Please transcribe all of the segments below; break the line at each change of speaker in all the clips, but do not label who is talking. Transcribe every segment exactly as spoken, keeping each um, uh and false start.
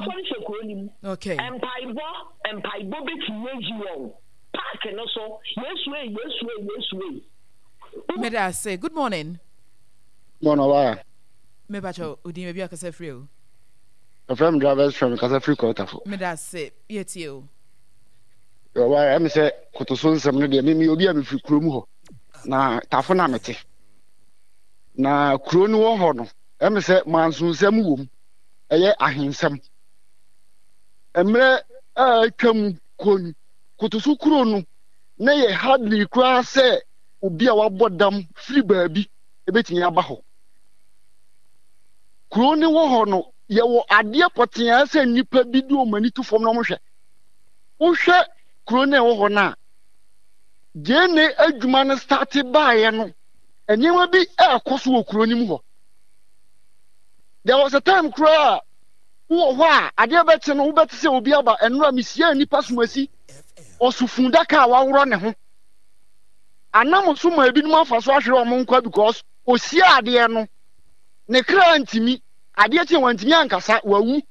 Nkurɔfoɔ no hyɛ kuro no mu.
Okay.
Mpaebɔ, mpaebɔ bɛtumi ayi wɔn. Park no so, Yesu ei, Yesu ei, Yesu ei.
Meda ase. Good morning.
Morning, ɔbaa.
Mepakyɛ odin baabi akasa firi o.
Ɛfrɛ me drivers friend kasa firi Kɔtafo.
Meda ase. Yɛtie o.
Ɔbaa, ɛmi sɛ kotoso nsɛm no deɛ mimi obi a mefiri kurom hɔ na tafo na mete. Na kuro no wɔ hɔ no, ɛmi sɛ mansonsɛm wɔ mu, ɛyɛ ahensɛm. Mmerɛ a atwa mu kɔ ni, kotoso kuro no na yɛ hardly koraa sɛ obi a wabɔ dam firi baabi ebetumi aba hɔ. Kuro no wɔ hɔ no, yɛwɔ adeɛ pɔtee a sɛ nnipa bi de wɔn ani to fam na wɔhwɛ. Wohwɛ kuro no a ɛwɔ hɔ no a, gyeene adwuma no starte baeɛ no, nneɛma bi ɛrekɔ so wɔ kuro no mu hɔ. There was a time koraa a wowɔ hɔ a adeɛ bɛkye no wobɛte sɛ obi aba ɛnora mehyia nnipa somasi ɔso fundaka a waworɔ ne ho anam so ma ebinom afa so ahwere wɔn nkwa because osia adeɛ no ne kra ntumi adeɛ kye wantumi ankasa wawu.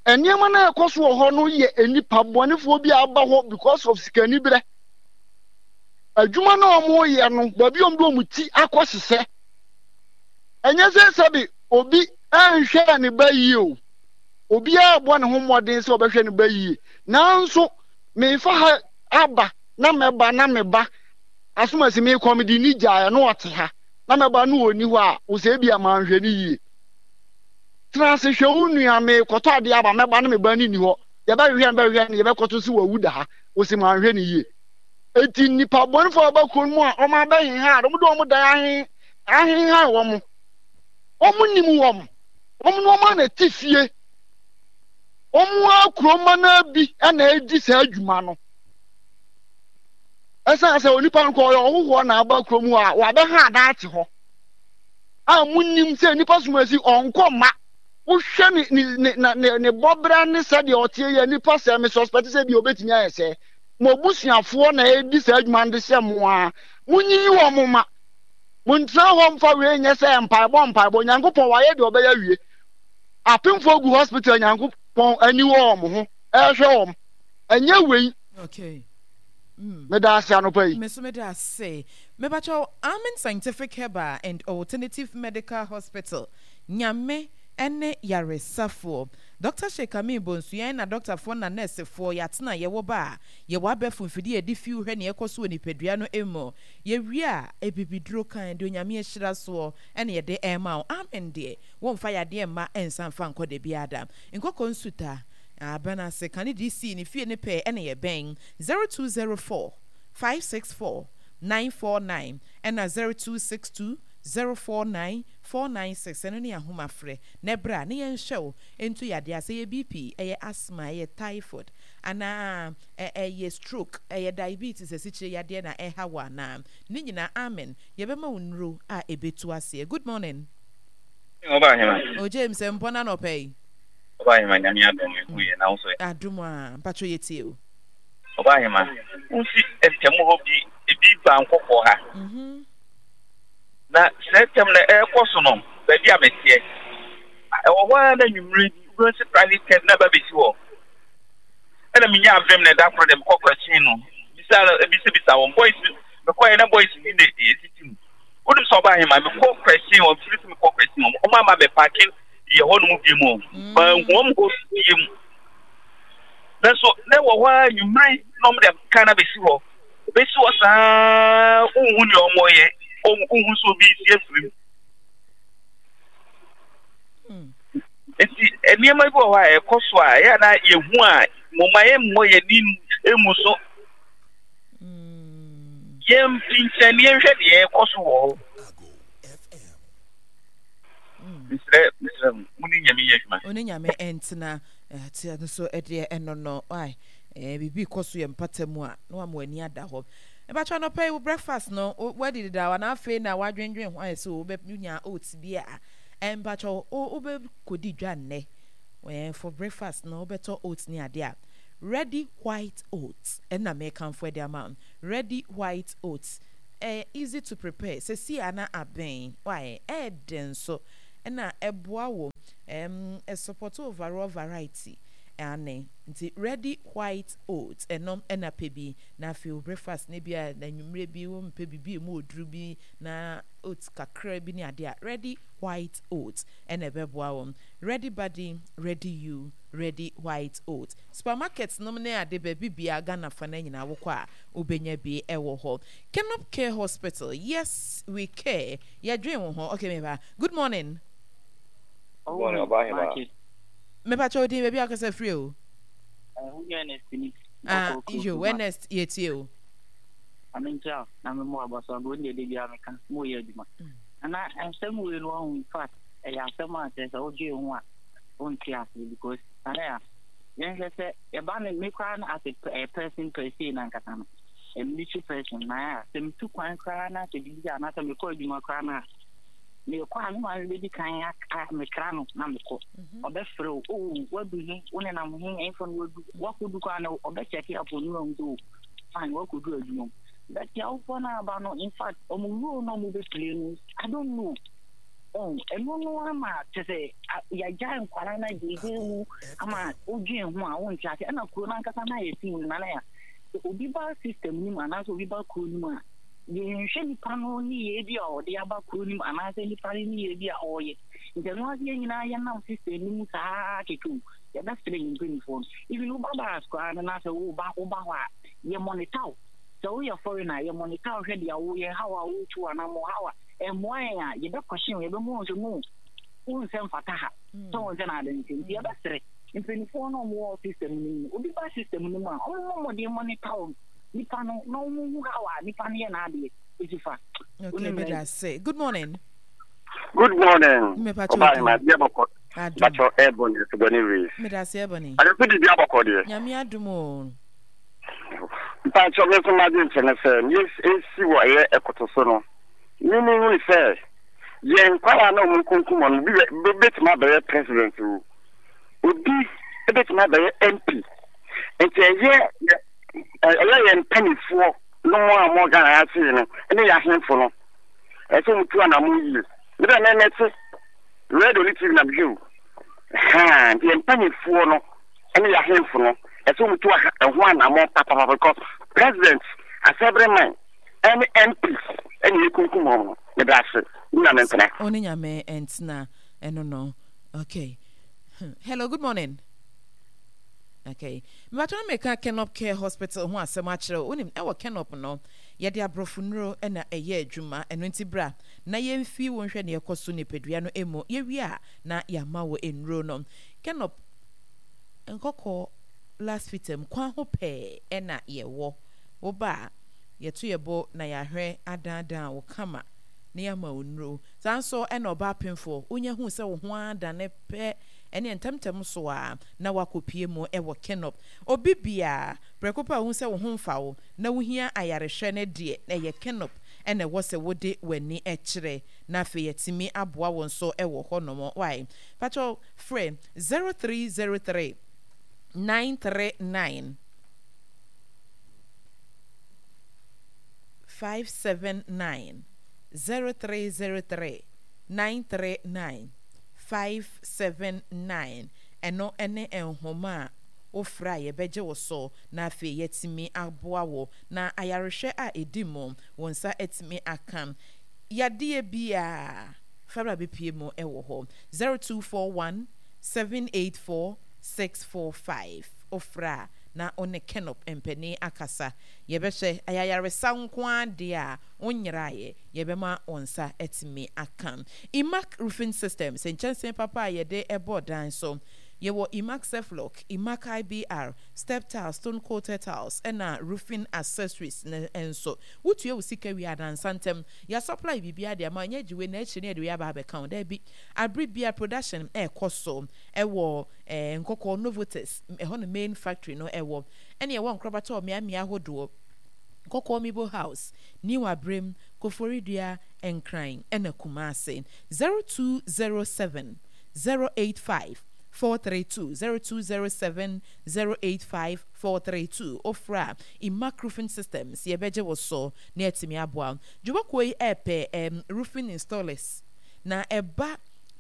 Nneɛma no a ɛkɔ so wɔ hɔ no yɛ nnipa bɔnefoɔ bi a aba hɔ because of sikaniberɛ. Adwuma no a wɔyɛ no, baabi a wɔde wɔn ti akɔ hyehyɛ. Ɛnyɛ sɛ sɛbe obi nhwɛ ne ba yie o. Obiara bɔ ne ho mmɔden sɛ ɔbɛhwɛ ne ba yie. Nanso, mefa ha aba na mɛba na meba asomasi mekɔ mede ni gyaeɛ na ɔte ha na mɛba na ɔnni hɔ a, wo sɛ ebia manhwɛ no yie. Tena ase hwɛ wo nua, merekɔtɔ adeɛ aba, mɛba na me ba no nni hɔ. Yɛbɛhwehwɛ no bɛhwehwɛ no, yɛbɛkɔto sɛ wawu da ha. Wose manhwɛ no yie. Enti nnipa bɔnefoɔ a wɔba kuro no mu a wɔabɛheha, wɔde wɔn dan ahe ahehan wɔn. Wɔn nim wɔn. Wɔn ne wɔn a na ɛte fie. Wɔn ara kuromma no ara bi na ɛredi saa adwuma no. Ɛsiane sɛ onipa no kɔ ɔyɛ ɔhohoɔ na aba kurom hɔ a, wabɛha adan ate hɔ. A monnim sɛ nnipa som asi ɔnkɔ mma. Wohwɛ ne ne ne na ne ne bɔbra ne sɛdeɛ ɔteɛ yɛ nipa sɛ me suspect sɛ bi obetumi ayɛ sɛ mo abusuafoɔ na ɛredi saa adwuma no de hyɛ mo a monyiyi wɔn ma montena hɔ mfa wei nyɛ sɛ mpaebɔ mpaebɔ. Nyankopɔn wayɛ deɛ ɔbɛyɛ awie. Apemfoɔ gu hospital, Nyankopɔn ani wɔ wɔn ho ɛrehwɛ wɔn, ɛnyɛ wei.
Okay. Mm.
Meda ase anɔpa yi.
Me so meda ase. Mepakyɛw, Amen Scientific Herbal and Alternative Medical Hospital, Nyame ne yaresafoɔ. Dɔkta Sheikh Amin Bonsu, yɛn na dɔktafoɔ na nɛɛsefoɔ yɛatena yɛwɔ ba a, yɛwɔ abɛɛfo mfidie a yɛde fiw hwɛ nea ɛkɔ so wɔ nipadua no mu. Yɛwie a, abibiduro kann, deɛ Onyame ahyira soɔ na yɛde rema wo. Amen deɛ, womfa yadeɛ mma nsan mfa nkɔ dabiara da. Nkɔkɔ Nsuta, Aban ase, kane D C ne fie no pɛɛ na yɛbɛn. zero two zero four five six four nine four nine ɛna zero two six two zero four nine four nine six. Ɛno ne ahoma frɛ na ɛberɛ a na yɛnhwɛ wo ntu yadeɛ a sɛ ɛyɛ B P, ɛyɛ asthma, ɛyɛ typhoid anaa ɛyɛ stroke, ɛyɛ diabetes, asikyire yadeɛ na ɛha wo anaa ne nyinaa, amen, yɛbɛma wo nnuro a ɛbɛtu aseɛ. Good morning.
Ɔba ahema.
O James mpɔ na nɔpɛ yi.
Ɔba ahema, Nyame adom ehu yɛ na wo so.
Adom a mpatwo yɛtie o.
Ɔba ahema, wosi ntɛm hɔ bi ebi ba nkɔkɔɔ ha.
Mhm.
Na sɛ tɛm na ɛrekɔ so no, baabi a meteɛ. Ɛwɔ hɔ ara na nwummere bi wobɛhu sɛ private car bi na ba bɛsi hɔ. Ɛna menya avem na ɛda koro de mekɔ kɔkyin no. Bisa bisabisa wɔn boys mekɔɛ na boys bi na ɛtiti mu. Wonim sɛ ɔba ahema mekɔ kɔkyin wɔn firi sɛ mekɔ kɔkyin wɔn wɔn ama bɛ paake yɛ hɔ nom bi mu. Manhu wɔn hɔ bie mu. Nanso na ɛwɔ hɔ ara nwummere na wɔn de kaa no abɛsi hɔ. Ɛbɛsi hɔ saa wonhu nea wɔreyɛ, wonhu sɛ obi resi afiri mu. Nti nneɛma bi wɔ hɔ a ɛkɔ so a ɛyɛ na yɛhu a moma yɛmmɔ yɛn ani ngu so. Yɛmfi nkyɛn na yɛnhwɛ deɛ ɛkɔ so wɔ hɔ. Mesrɛ mesrɛ mo, mo ne Nyame nyɛ adwuma.
Wo ne Nyame ntena. Te no so deɛ ɛno no why eh, biribi kɔ so yɛ mpata mu a na wama w'ani ada hɔ. Mepakyɛ anɔpa yi wo breakfast no wadi dedaw anaa afei na wadwendwen ho ayɛ sɛ wobɛnya oats bi a eh, mpakyɛ wobɛkɔdi dwa nnɛ eh, for breakfast no wobɛtɔ oats ne adeɛ a Ready White Oats ɛna mekamfo de ama wo. Ready White Oats ɛyɛ easy to prepare sɛsi a na abɛn why ɛyɛ den nso. Ɛna ɛboa wo ɛm ɛsupport overall variety. Aane, nti Ready White Oats ɛno ɛna pɛ bi na afei wo breakfast no bi a na anwummerɛ bi wo mpɛ biribi emu oduru bi na oats kakra bi ne adeɛ a, Ready White Oats ɛna ɛbɛboa wo. Ready Body, Ready You, Ready White Oats. Supermarket nom ne ade baabi biara Ghana fa no nyinaa wokɔ a wobɛnya bi ɛwɔ hɔ. Kenop Care Hospital, yes we care, yɛdwen wo ho. Okay meba. Good morning.
Good morning, Ɔbaa.
Mepakyɛ wo din, baabi a wokasa firi o. Ah, yo, Ernest, yɛtie o.
Ame nkyia o, na me mo aba so ago ndeɛ de biara meka, mo yɛ adwuma. Ana asɛm wei no wahu, in fact, ɛyɛ asɛm a kyerɛ sɛ wodwee ho a wonte aseɛ because ana ya yɛnhwɛ sɛ ɛba no me koraa no as a person per se na ankasa no a military person na a sɛ metu kwan koraa na sɛ biribi anaasɛ mekɔ adwuma koraa no a mekɔ a me maame bɛdi kan aka mekra no na mekɔ mhm. Ɔbɛfrɛ wo o, oh, wadu he, wo nenam he, ɛmfa no wadu, wakɔdu koraa no ɔbɛkyɛke apɔ no ahu sɛ o fine, wakɔdu adwuma mu. But awofoɔ no aba no, in fact, ɔmo role no ɔmo bɛplay no, I don't know. Oh, ɛno no ama kyɛ sɛ yɛagyae nkwara no agyegye mu ama wodwen ho a wonte ase. Ɛna kuro no ankasa no ayɛ team no nana ya sɛ obi ba system no mu anaasɛ obi ba kuro no mu a, yɛnhwɛ nipa no nneyɛɛ bi a ɔde aba kuro no mu anaasɛ nipa no nneyɛɛ bi a ɔreyɛ. Nti ɛno ase yɛn nyinaa yɛnam system no mu saa kɛkɛ o. Yɛbɛsrɛ yɛn mpanimfoɔ no, even woba bus koraa no na sɛ woba woba hɔ a, yɛ monitor wo. Sɛ woyɛ foreigner a, yɛ monitor wo hwɛ deɛ woyɛ, how a wotu anammɔn, how a ɛmmoa yɛn a, yɛbɛkɔhye wo, yɛbɛma wɔn sɛ no, wo nsɛ mfata ha. Sɛ wɔn sɛ na ade nti nti yɛbɛsrɛ mpanimfoɔ no a wɔwɔ system no mu. Obi ba system no mu a, wɔmmɔ mmɔden monitor wo nipa no na wɔn hu how a nipa no yɛ n'adeɛ esi fa.
Okay, meda ase. Good morning.
Good morning.
Mepacho
Ọba ahema bi abɔkɔ. Bacho Ebony Ebony Reese.
Meda ase Ebony.
Adefo di bi abɔkɔ deɛ.
Nyame adum o.
Mpacho me nso m'adwene kyerɛ ne sɛ nea esi wɔ ɛyɛ ɛkoto so no, me me hu sɛ yɛn nkwadaa na wɔn nkunkum wɔn obi bɛtumi abɛyɛ president o, obi bɛtumi abɛyɛ M P, nti ɛyɛ ɛyɛ yɛn mpanimfoɔ no mu a wɔn Ghana ha sei no ne yɛn ahemfo no, ɛsɛ wɔn tu anamɔ yie. Me dɛ mɛ mɛte radio ne T V na mehwɛ o haa, nti yɛn mpanimfoɔ no ne yɛn ahemfo no, ɛsɛ wɔn tu ɛho anamɔ papapapa because president, assemblyman ɛne M Ps ɛne ekunkum wɔn no. Meda ase, ne Nyame ntena.
Ɔne Nyame ntena ɛno no. Okay. Hello, good morning. Okay. Mebatɔ na meka Kenop Care Hospital ho asɛm akyerɛ wo. Wonim, ɛwɔ Kenop no, yɛde aborɔfo nnuro na ɛyɛ adwuma. Ɛno nti bra na yɛmfi wo nhwɛ nea ɛkɔ so nipadua no mu. Yɛwie a, na yɛama wo nnuro no. Kenop nkɔkɔɔ last fitam kwan ho pɛɛ ɛna yɛwɔ. Woba a, yɛto yɛ bo na yɛahwɛ adaadaa wo kama na yɛama wo nnuro. Saa nso ɛna ɔbaa pemfoɔ, wonya hu sɛ wo ho adane pɛ, ɛne ntɛmntɛm so a na woakɔpue mu wɔ Kenop. Obi biara, prɛko pɛ a wohu sɛ wo ho mfa wo na wohia ayarehwɛ no deɛ, ɛyɛ Kenop na ɛwɔ sɛ wode w'ani kyerɛ na afei yɛatumi aboa wo nso wɔ hɔnom. Wai? Pakyɛw, frɛ zero three zero three nine three nine five seven nine, zero three zero three nine three nine five seven nine. Ɛno ne nhoma a wofrɛ a yɛbɛgye wo so na afei yɛatumi aboa wo na ayarehwɛ a ɛdi mu wo nsa atumi aka. Yadeɛ biara fabra bɛpie mu wɔ hɔ. zero two four one seven eight four six four five, wofrɛ a na wo ne Kenop mpanin akasa. Yɛbɛhwɛ ayayaresa nko ara deɛ a wonyeraeɛ, yɛbɛma wo nsa atumi aka. Imac Roofing Systems, nkyɛnsee papa a yɛde bɔ dan so. Yɛwɔ Imac Ceflock, Imac I B R, step tiles, stone coated tiles, ɛna roofing accessories no nso. Wotua wo sika wie a, nansa ntɛm yɛasupply biribiara de ama wo. Ɛnyɛ gye wei na akyire no yɛde wei aba abɛka wo, daabi. Abere biara production ɛrekɔ so ɛwɔ eh, Nkɔkɔɔ Novotes, ɛhɔ no main factory no ɛwɔ, ɛne ɛwɔ nkorabata wɔ mmeammea ahodoɔ: Nkɔkɔɔ Mibo House, New Abrem, Koforidua, Nkran, ɛna Kumase. zero two zero seven zero eight five four three two, zero two zero seven zero eight five four three two. Ofra a Imac Roofing Systems, yɛbɛgye wo so na yɛatumi aboa wo. Dwumakuo yi ɛɛpɛ um, roofing installers na ɛba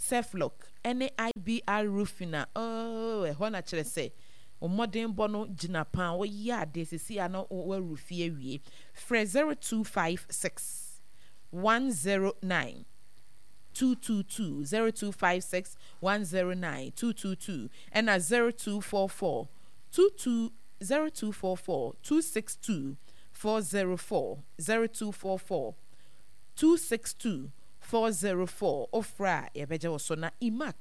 Ceflock ne IBR Roofing a, oh, ɛhɔ na kyerɛ sɛ wo mmɔdenbɔ no gyina paa, woyɛ adeɛ seesei a na woarufi awie. Frɛ zero two five six one zero nine two two two, zero two five six one zero nine two two two, ɛna zero two four four two two zero two four four two six two four zero four, zero two four four two six two four zero four. Wofrɛ a yɛbɛgye wo so. Na Imac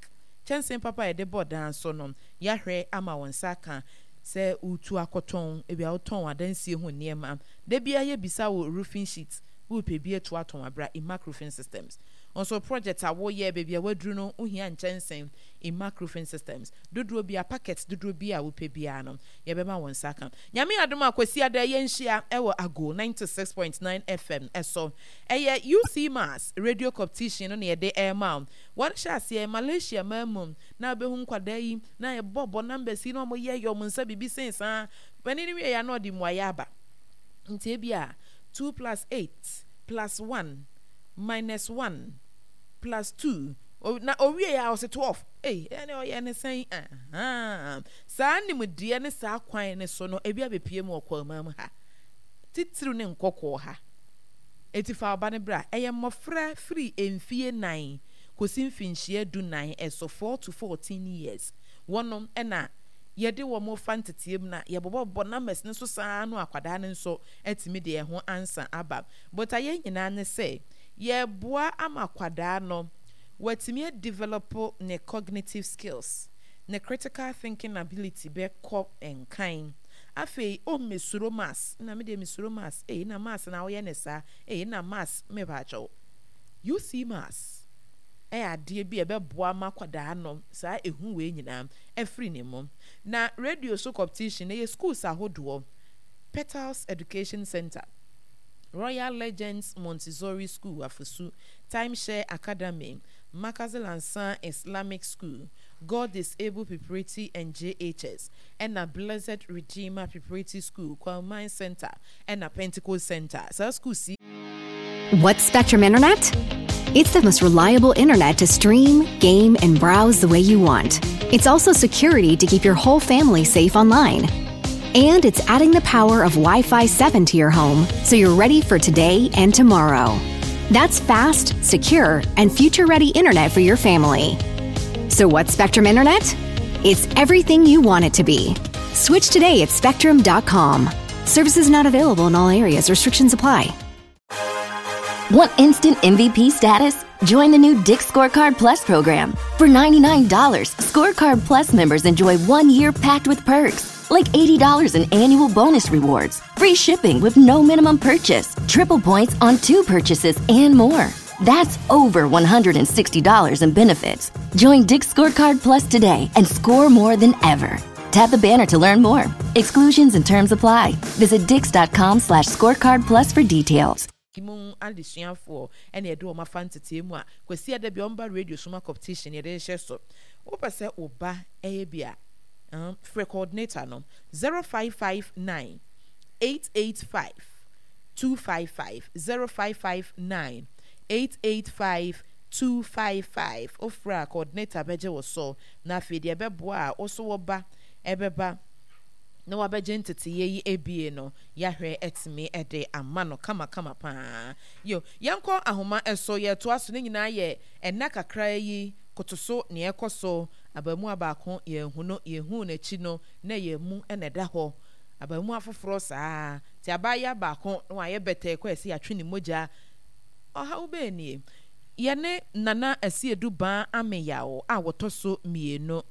kyɛnsee papa a yɛde bɔ dan so no, yɛahwɛ ama wo nsa aka sɛ woretu akɔtɔn, ebia wotɔn adansie ho nneɛma. Da biara yɛbisa wo roofing sheet, worepɛ bi atu atɔn a, bra Imac Roofing Systems. Wo nso project a woyɛ, baabi a woaduru no, wohia nkyɛnsee, Imac Roofing Systems. Dodoɔ biara, packet dodoɔ biara a wopɛ biara no, yɛbɛma wo nsa aka. Nyame adom a, Kwasiada yɛnhyia wɔ Ago ninety six point nine FM so. Ɛyɛ UC Mass Radio Competition no na yɛde rema wo. Wɔn hyɛ aseɛ Malaysia man mu na wobɛhu nkwadaa yi na yɛbɔ bɔ numbers yi na wɔn yɛ yɛ wɔn nsa biribi sen saa. Panin no wie yɛ a na ɔde mmuaeɛ aba. Nti ebi a two plus eight plus one minus one plus two na owie yɛ a ɔse twelve. Ei, ɛne ɔyɛ ne sɛn? Ahaa. Saa nimdeɛ ne saa kwan no so no ebi abɛpue mu wɔ Kwaman mu ha. Titiriw ne nkɔkɔɔ ha. Enti fa wo ba no bra. Ɛyɛ mmɔfra firi mfie nnan kɔsi mfinhyia du nnan so, four to fourteen years, wɔnom na yɛde wɔn fa nteteɛ mu na yɛbobɔbobɔ numbers no so saa ara no akwadaa no nso atumi de ɛho ansa aba. Botaeɛ nyinaa ne sɛ yɛreboa ama akwadaa no watumi adevelop ne cognitive skills, ne critical thinking ability bɛkɔ nkan. Afei oh mesuro maths na me deɛ mesuro maths ei na maths na woyɛ ne saa ei na maths mepaakyɛw you see maths ɛyɛ adeɛ bi a ɛbɛboa ma akwadaa no saa ehu wei nyinaa afiri ne mu. Na radio so competition ɛyɛ schools ahodoɔ, Petals Education Centre, Royal Legends Montessori School Afosu, Time Share Academy, Markazil Ansar Islamic School, God Disable Preparatory and J H S, ɛna Blessed Redeemer Preparatory School, Kwauman Centre, ɛna Pentecost Centre. Saa schools yi.
What's Spectrum Internet? It's the most reliable internet to stream, game, and browse the way you want. It's also security to keep your whole family safe online. And it's adding the power of Wi-Fi seven to your home so you're ready for today and tomorrow. That's fast, secure, and future-ready internet for your family. So what's Spectrum Internet? It's everything you want it to be. Switch today at spectrum dot com. Services not available in all areas. Restrictions apply.
Want instant M V P status? Join the new Dick's Scorecard Plus program. For ninety-nine dollars, Scorecard Plus members enjoy one year packed with perks, like eighty dollars in annual bonus rewards, free shipping with no minimum purchase, triple points on two purchases, and more. That's over one hundred and sixty dollars in benefits. Join Dick's Scorecard Plus today and score more than ever. Tap the banner to learn more. Exclusions and terms apply. Visit dicks dot com slash scorecard plus for details.
Mu adesuafoɔ ɛna yɛde wɔn afa ntetee mu a Kwasi Ada bi ɔmba radio soma competition yɛde hyɛ so. Wopɛ sɛ wo ba ɛyɛ bi a, um, frɛ coordinator no zero five five nine eight eight five two five five, zero five five nine eight eight five two five five. Wofrɛ a coordinator bɛgye wo so na afei deɛ ɛbɛboa a wo so wo ba ɛbɛba na wabɛgye nteteyɛ yi ebie no yɛahwɛ atumi de ama no kamakama paa. Yo, yɛnkɔ ahoma so, yɛtoa so ne nyinaa yɛ ɛnna kakra yi koto so nea ɛkɔ so. Abaamua baako yɛnhu no, yɛhuu n'akyi no na ɛyɛ mu na ɛda hɔ. Abaamua foforɔ saa, nti abaayewa baako na wayɛ bɛtɛɛ kɔ ɛsɛ yɛatwe ne mogya. Ɔhaw bɛn nie? Yɛne Nana Asiedu Baa Ameyaw a wɔtɔ so mmienu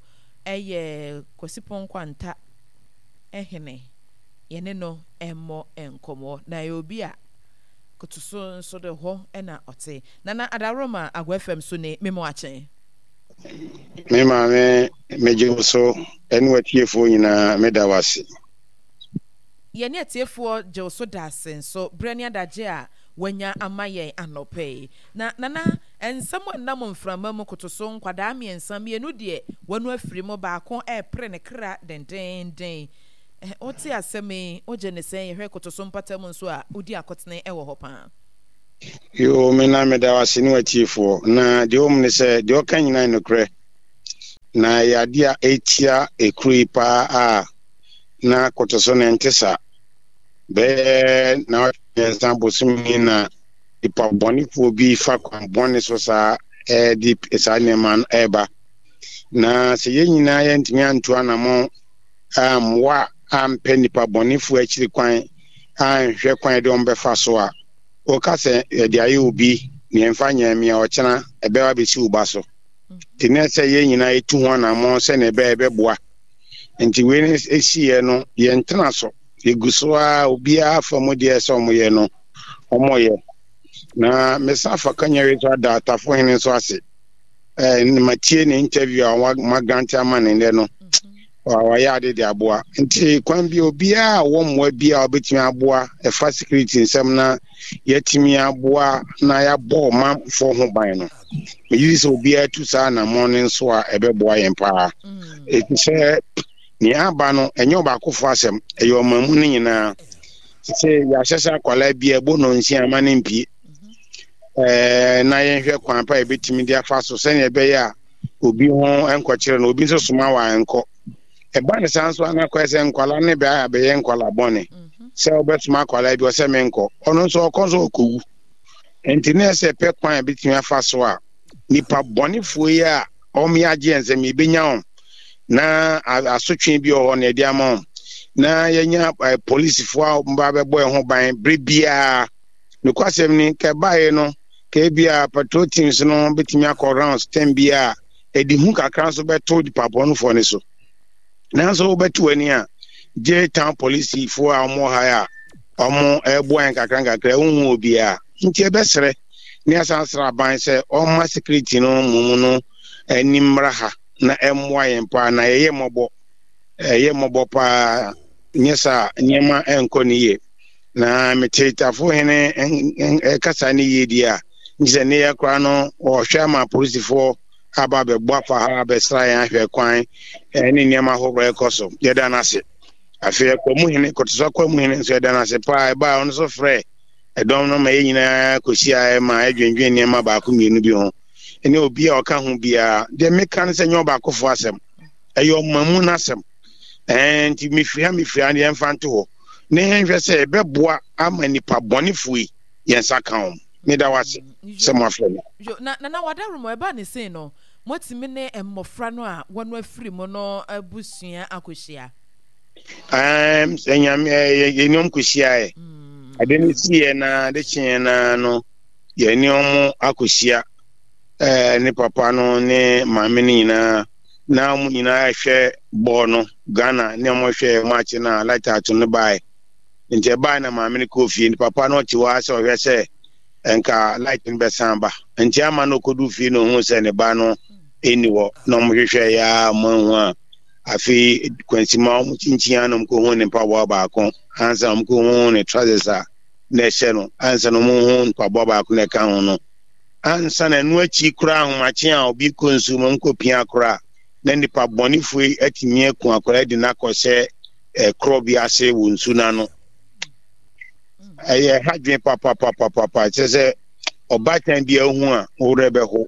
ɛyɛ Kwasi Pɔnkɔ hene, yɛne no mmɔ nkɔmmɔ. Na ɛyɛ obi a koto so nso de hɔ na ɔte. Nana Adaworoma Agua F M so ne Memo Akye.
Me maame, megye wo so ne w'atiefoɔ nyinaa, meda wo ase.
Yɛne atiefoɔ gye wo so da ase nso berɛ ne adagye a wanya ama yɛn anɔpa yi. Na Nana, nsɛm a ɛnam mframa mu koto so nkwadaa mmiɛnsa, mmienu deɛ wɔn afiri mu, baako repere ne kra dendeenden. Wote asɛm yi, wogye ne sɛn? Yɛhwɛ koto so mpata mu nso a, wodi akotene wɔ hɔ paa.
Yoo, me na meda wo ase ne w'atiefoɔ. Na deɛ wɔm ne sɛ, deɛ ɔka nyinaa yɛ nokorɛ. Na ɛyɛ adeɛ a ɛtia ekuro yi paa a na koto so no ɛnte saa. Bɛyɛ na mmiɛnsa bosome ni na nipa bɔnefoɔ bi fa kwan bɔne so saa ɛde saa nneɛma no ɛreba. Na sɛ yɛn nyinaa yɛntumi antu anammɔn ammoa ampɛ nipa bɔnefoɔ akyiri kwan anhwɛ kwan de wɔn bɛfa so a, woka sɛ yɛde ayɛ obi nea ɛmfa nyɛ me a, ɔkyena ɛbɛba bɛsi wo ba so. Nti na sɛ yɛn nyinaa yɛtu ho anammɔn sɛnea ɛbɛyɛ ɛbɛboa. Nti wei no ɛsiiɛ no, yɛntena so. Yɛgu so a obiara fa mu deɛ sɛ wɔyɛ no, wɔyɛ. Na mesan fa kanya wei so ada Atafo hene nso ase. Eh, matie ne interview a magrante ama ne nnɛ no. Wayɛ ade de aboa. Nti kwan bi obiara a ɔwɔ mmoa bi a ɔbɛtumi aboa ɛfa security nsɛm na yɛatumi aboa na yɛabɔ ɔmanfoɔ ho ban no. Megye di sɛ obiara tu saa anammɔn no nso a ɛbɛboa yɛn paa. Ɛfiri sɛ nea aba no ɛnyɛ ɔbaakofoɔ asɛm, ɛyɛ ɔman mu no nyinaa. Sɛ yɛahyɛ sɛ akwadaa bi a ɛbɔ nnɔnsia ama no mpie. Ɛɛ na yɛnhwɛ kwan pa a yɛbɛtumi de afa so sɛnea ɛbɛyɛ a obi ho nkɔkyerɛ no, obi nso soma wa nkɔ. Ɛba ne saa nso ana kɔyɛ sɛ nkwalaa ne bɛayɛ abɛyɛ nkwalaa bɔne. Sɛ wobɛsoma akwalaa bi ɔsɛ menkɔ, ɔno nso ɔkɔ nso ɔkɔwu. Nti na ɛsɛ pɛ kwan a ɛbɛtumi afa so a nipa bɔnefoɔ yi a wɔn yɛ agye yɛn nsam yɛbɛnya wɔn na asotwe bi wɔ hɔ na yɛde ama wɔn na yɛnya polisifoɔ a wɔn ba bɛbɔ yɛn ho ban bere biara. Nokwasɛm ni, ka ɛbaeɛ no, ka ebia patrol teams no bɛtumi akɔ rounds tɛm bi a ɛde hu kakra nso bɛto nipa bɔnefoɔ no so. Nanso wobɛto w'ani a, gye town polisifoɔ a wɔwɔ ha a wɔn ɛreboa yɛn kakra nkakra, wonhu obiara. Nti ɛbɛsrɛ ne asan srɛ aban sɛ ɔmma security no mmom no ani mmra ha na ɛmmoa yɛn paa, na yɛyɛ mmɔbɔ, ɛyɛ mmɔbɔ paa, nyɛ saa nneɛma ɛnkɔ ne yie. Na mete Tafo hene ɛkasa ne yie deɛ a, nti sɛ ne yɛ koraa no ɔhwɛ ama apolisifoɔ aba abɛbɔ afa ha abɛsra yɛn ahwɛ kwan ne nneɛma ahoroɔ ɛkɔ so. Yɛda no ase. Afei Akwamu hene, Kɔtɔso Akwamu hene nso yɛda no ase paa. Ɛbaa ɔno nso frɛ ɛdɔm no ma yɛn nyinaa kɔhyiaeɛ ma ɛdwendwen nneɛma baako mmienu bi ho. Ɛne obi a ɔka ho biara. Deɛ meka no sɛ nyɛ ɔbaakofoɔ asɛm, ɛyɛ ɔmamu no asɛm. Ɛɛ nti mefiri ha mefiri ha deɛ yɛmfa nto hɔ na yɛnhwɛ sɛ ɛbɛboa ama nnipa bɔnefoɔ yi yɛn nsa ka wɔn. Meda wo ase sɛ moafrɛ me.
Yo, na Nana Wadaroma, ɛbaa ne sei no, moatumi ne mmɔfra no a wɔn afiri mu no abusua akɔhyia?
Ɛɛm, sɛ Nyame, ɛɛ, yɛne wɔn kɔhyiaeɛ. Ade no siiɛ na ade kyeeɛ na no, yɛne wɔn akɔhyia. Ɛɛ, ne papa no ne maame no nyinaa, na wɔn nyinaa hwɛ bɔɔl no, Ghana, ne wɔn hwɛ match no a light ato no baeɛ. Nti ɛbaeɛ na maame no kɔɔ fie, nti papa no ɔte hɔ ara sɛ ɔhwɛ sɛ nka light no bɛsan ba. Nti ama no ɔkɔdu fie na ohuu sɛ ne ba no ɛnni hɔ, na wɔn hwehwɛ yɛ a wɔn ahu a, afei kwansima wɔn kyinkyin a na wɔn kɔhu ne mpaboa baako, ansa na wɔn kɔhu ne trousers a na ɛhyɛ no, ansa na wɔn hu mpaboa baako na ɛka ho no. Ansa na ɛno akyi koraa ahomakye a obi kɔ nsuo mu nkɔpia koraa na nipa bɔnefoɔ yi atumi aku akwadaa de no akɔhyɛ korɔ bi ase wɔ nsu no ano. Ɛyɛ ha dwen papapapapa, kyerɛ sɛ ɔbaatan bi ahu a wo werɛ bɛho.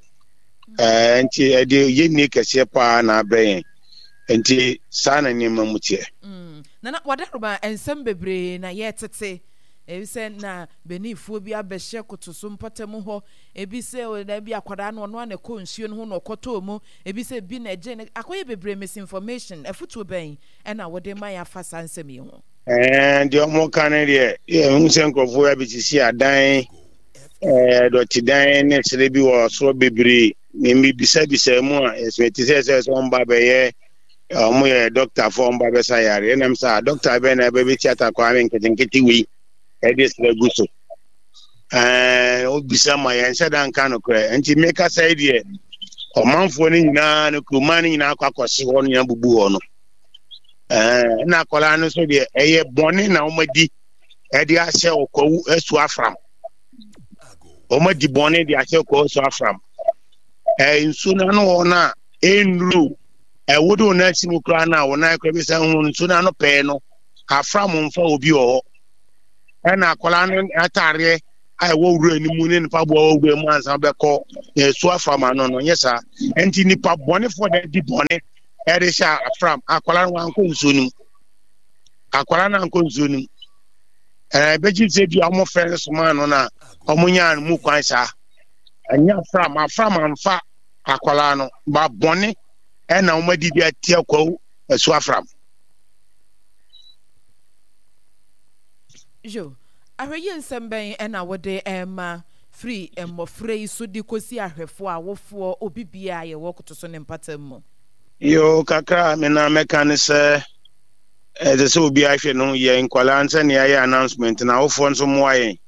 Ɛɛ nti ɛde yɛnni kɛseɛ paa na abrɛ yɛn. Nti saa na nneɛma mu teɛ.
Mm. Nana Wadaroma, nsɛm bebree na yɛtete. Ebi sɛ na Beninfoɔ bi abɛhyɛ kotoso mpɔtam hɔ. Ebi sɛ na bi akwadaa no ɔno ara na ɛkɔ nsuo no ho na ɔkɔtɔɔ mu. Ebi sɛ bi na ɛgye no. Akɔyɛ bebree misinformation. Afutuo bɛn ɛna wode ma yɛn afa saa nsɛm yi ho?
Ɛɛ, deɛ wɔka no deɛ, yɛhu sɛ nkurɔfoɔ abɛsisi adan, ɛɛ, dɔtedan ne serɛ bi wɔ soro bebree. Mebisabisa mu a, ɛsɛ te sɛ sɛ sɛ wɔn ba bɛyɛ, wɔn yɛ dɔktafoɔ, wɔn ba bɛsa yareɛ. Ɛnam sɛ dɔkta bɛn na ɛbɛbɛsi atakwaa ne nketenkete wei ɛde serɛ gu so. Ɛɛ, wobisa ma yɛn nhyɛ da nka nokorɛ. Nti mekasa yi deɛ, ɔmanfoɔ no nyinaa no kuroman no nyinaa akɔ akɔhye hɔ no nyinaa bubu hɔ no. Ɛɛ, na akwadaa no nso deɛ ɛyɛ bɔne na wɔadi ɛde ahyɛ ɔkwawu asu afram. Wɔadi bɔne de ahyɛ ɔkwawu asu afram. Ɛɛ nsuo no ano hɔ no a ɛnnuru ɛwo de wɔn asi mu koraa no a wɔn nan koraa bisa ho nsuo no ano pɛɛ no afram mfa obi wɔ hɔ. Ɛna akwadaa no ataareɛ a ɛwɔ wura no mu ne ne mpaboa wɔ wura mu ansa bɛkɔ ɛso afram ano no nyɛ saa. Nti nipa bɔnefoɔ na ɛdi bɔne ɛde hyɛ afram. Akwadaa no wankɔ nsuo no mu, akwadaa no ankɔ nsuo no mu. Ɛɛ bɛgye sɛ bi a wɔn fɛ no somaa no na wɔn nyaa no mu kwan saa. Ɛnyɛ afram, afram amfa akwadaa no ba bɔne ɛna wɔn adi de atia kwawu ɛso afram.
Yo, ahwɛyie nsɛm bɛn na wode rema firi mmɔfra yi so de kɔsi ahwɛfoɔ, awofoɔ, obi biara a yɛwɔ kotoso ne mpatam mu?
Yo, kakra a me na mɛka ne sɛ ɛsɛ sɛ obiara hwɛ ne ho yie. Nkwadaa no sɛnea yɛayɛ announcement no, awofoɔ nso mmoa yɛn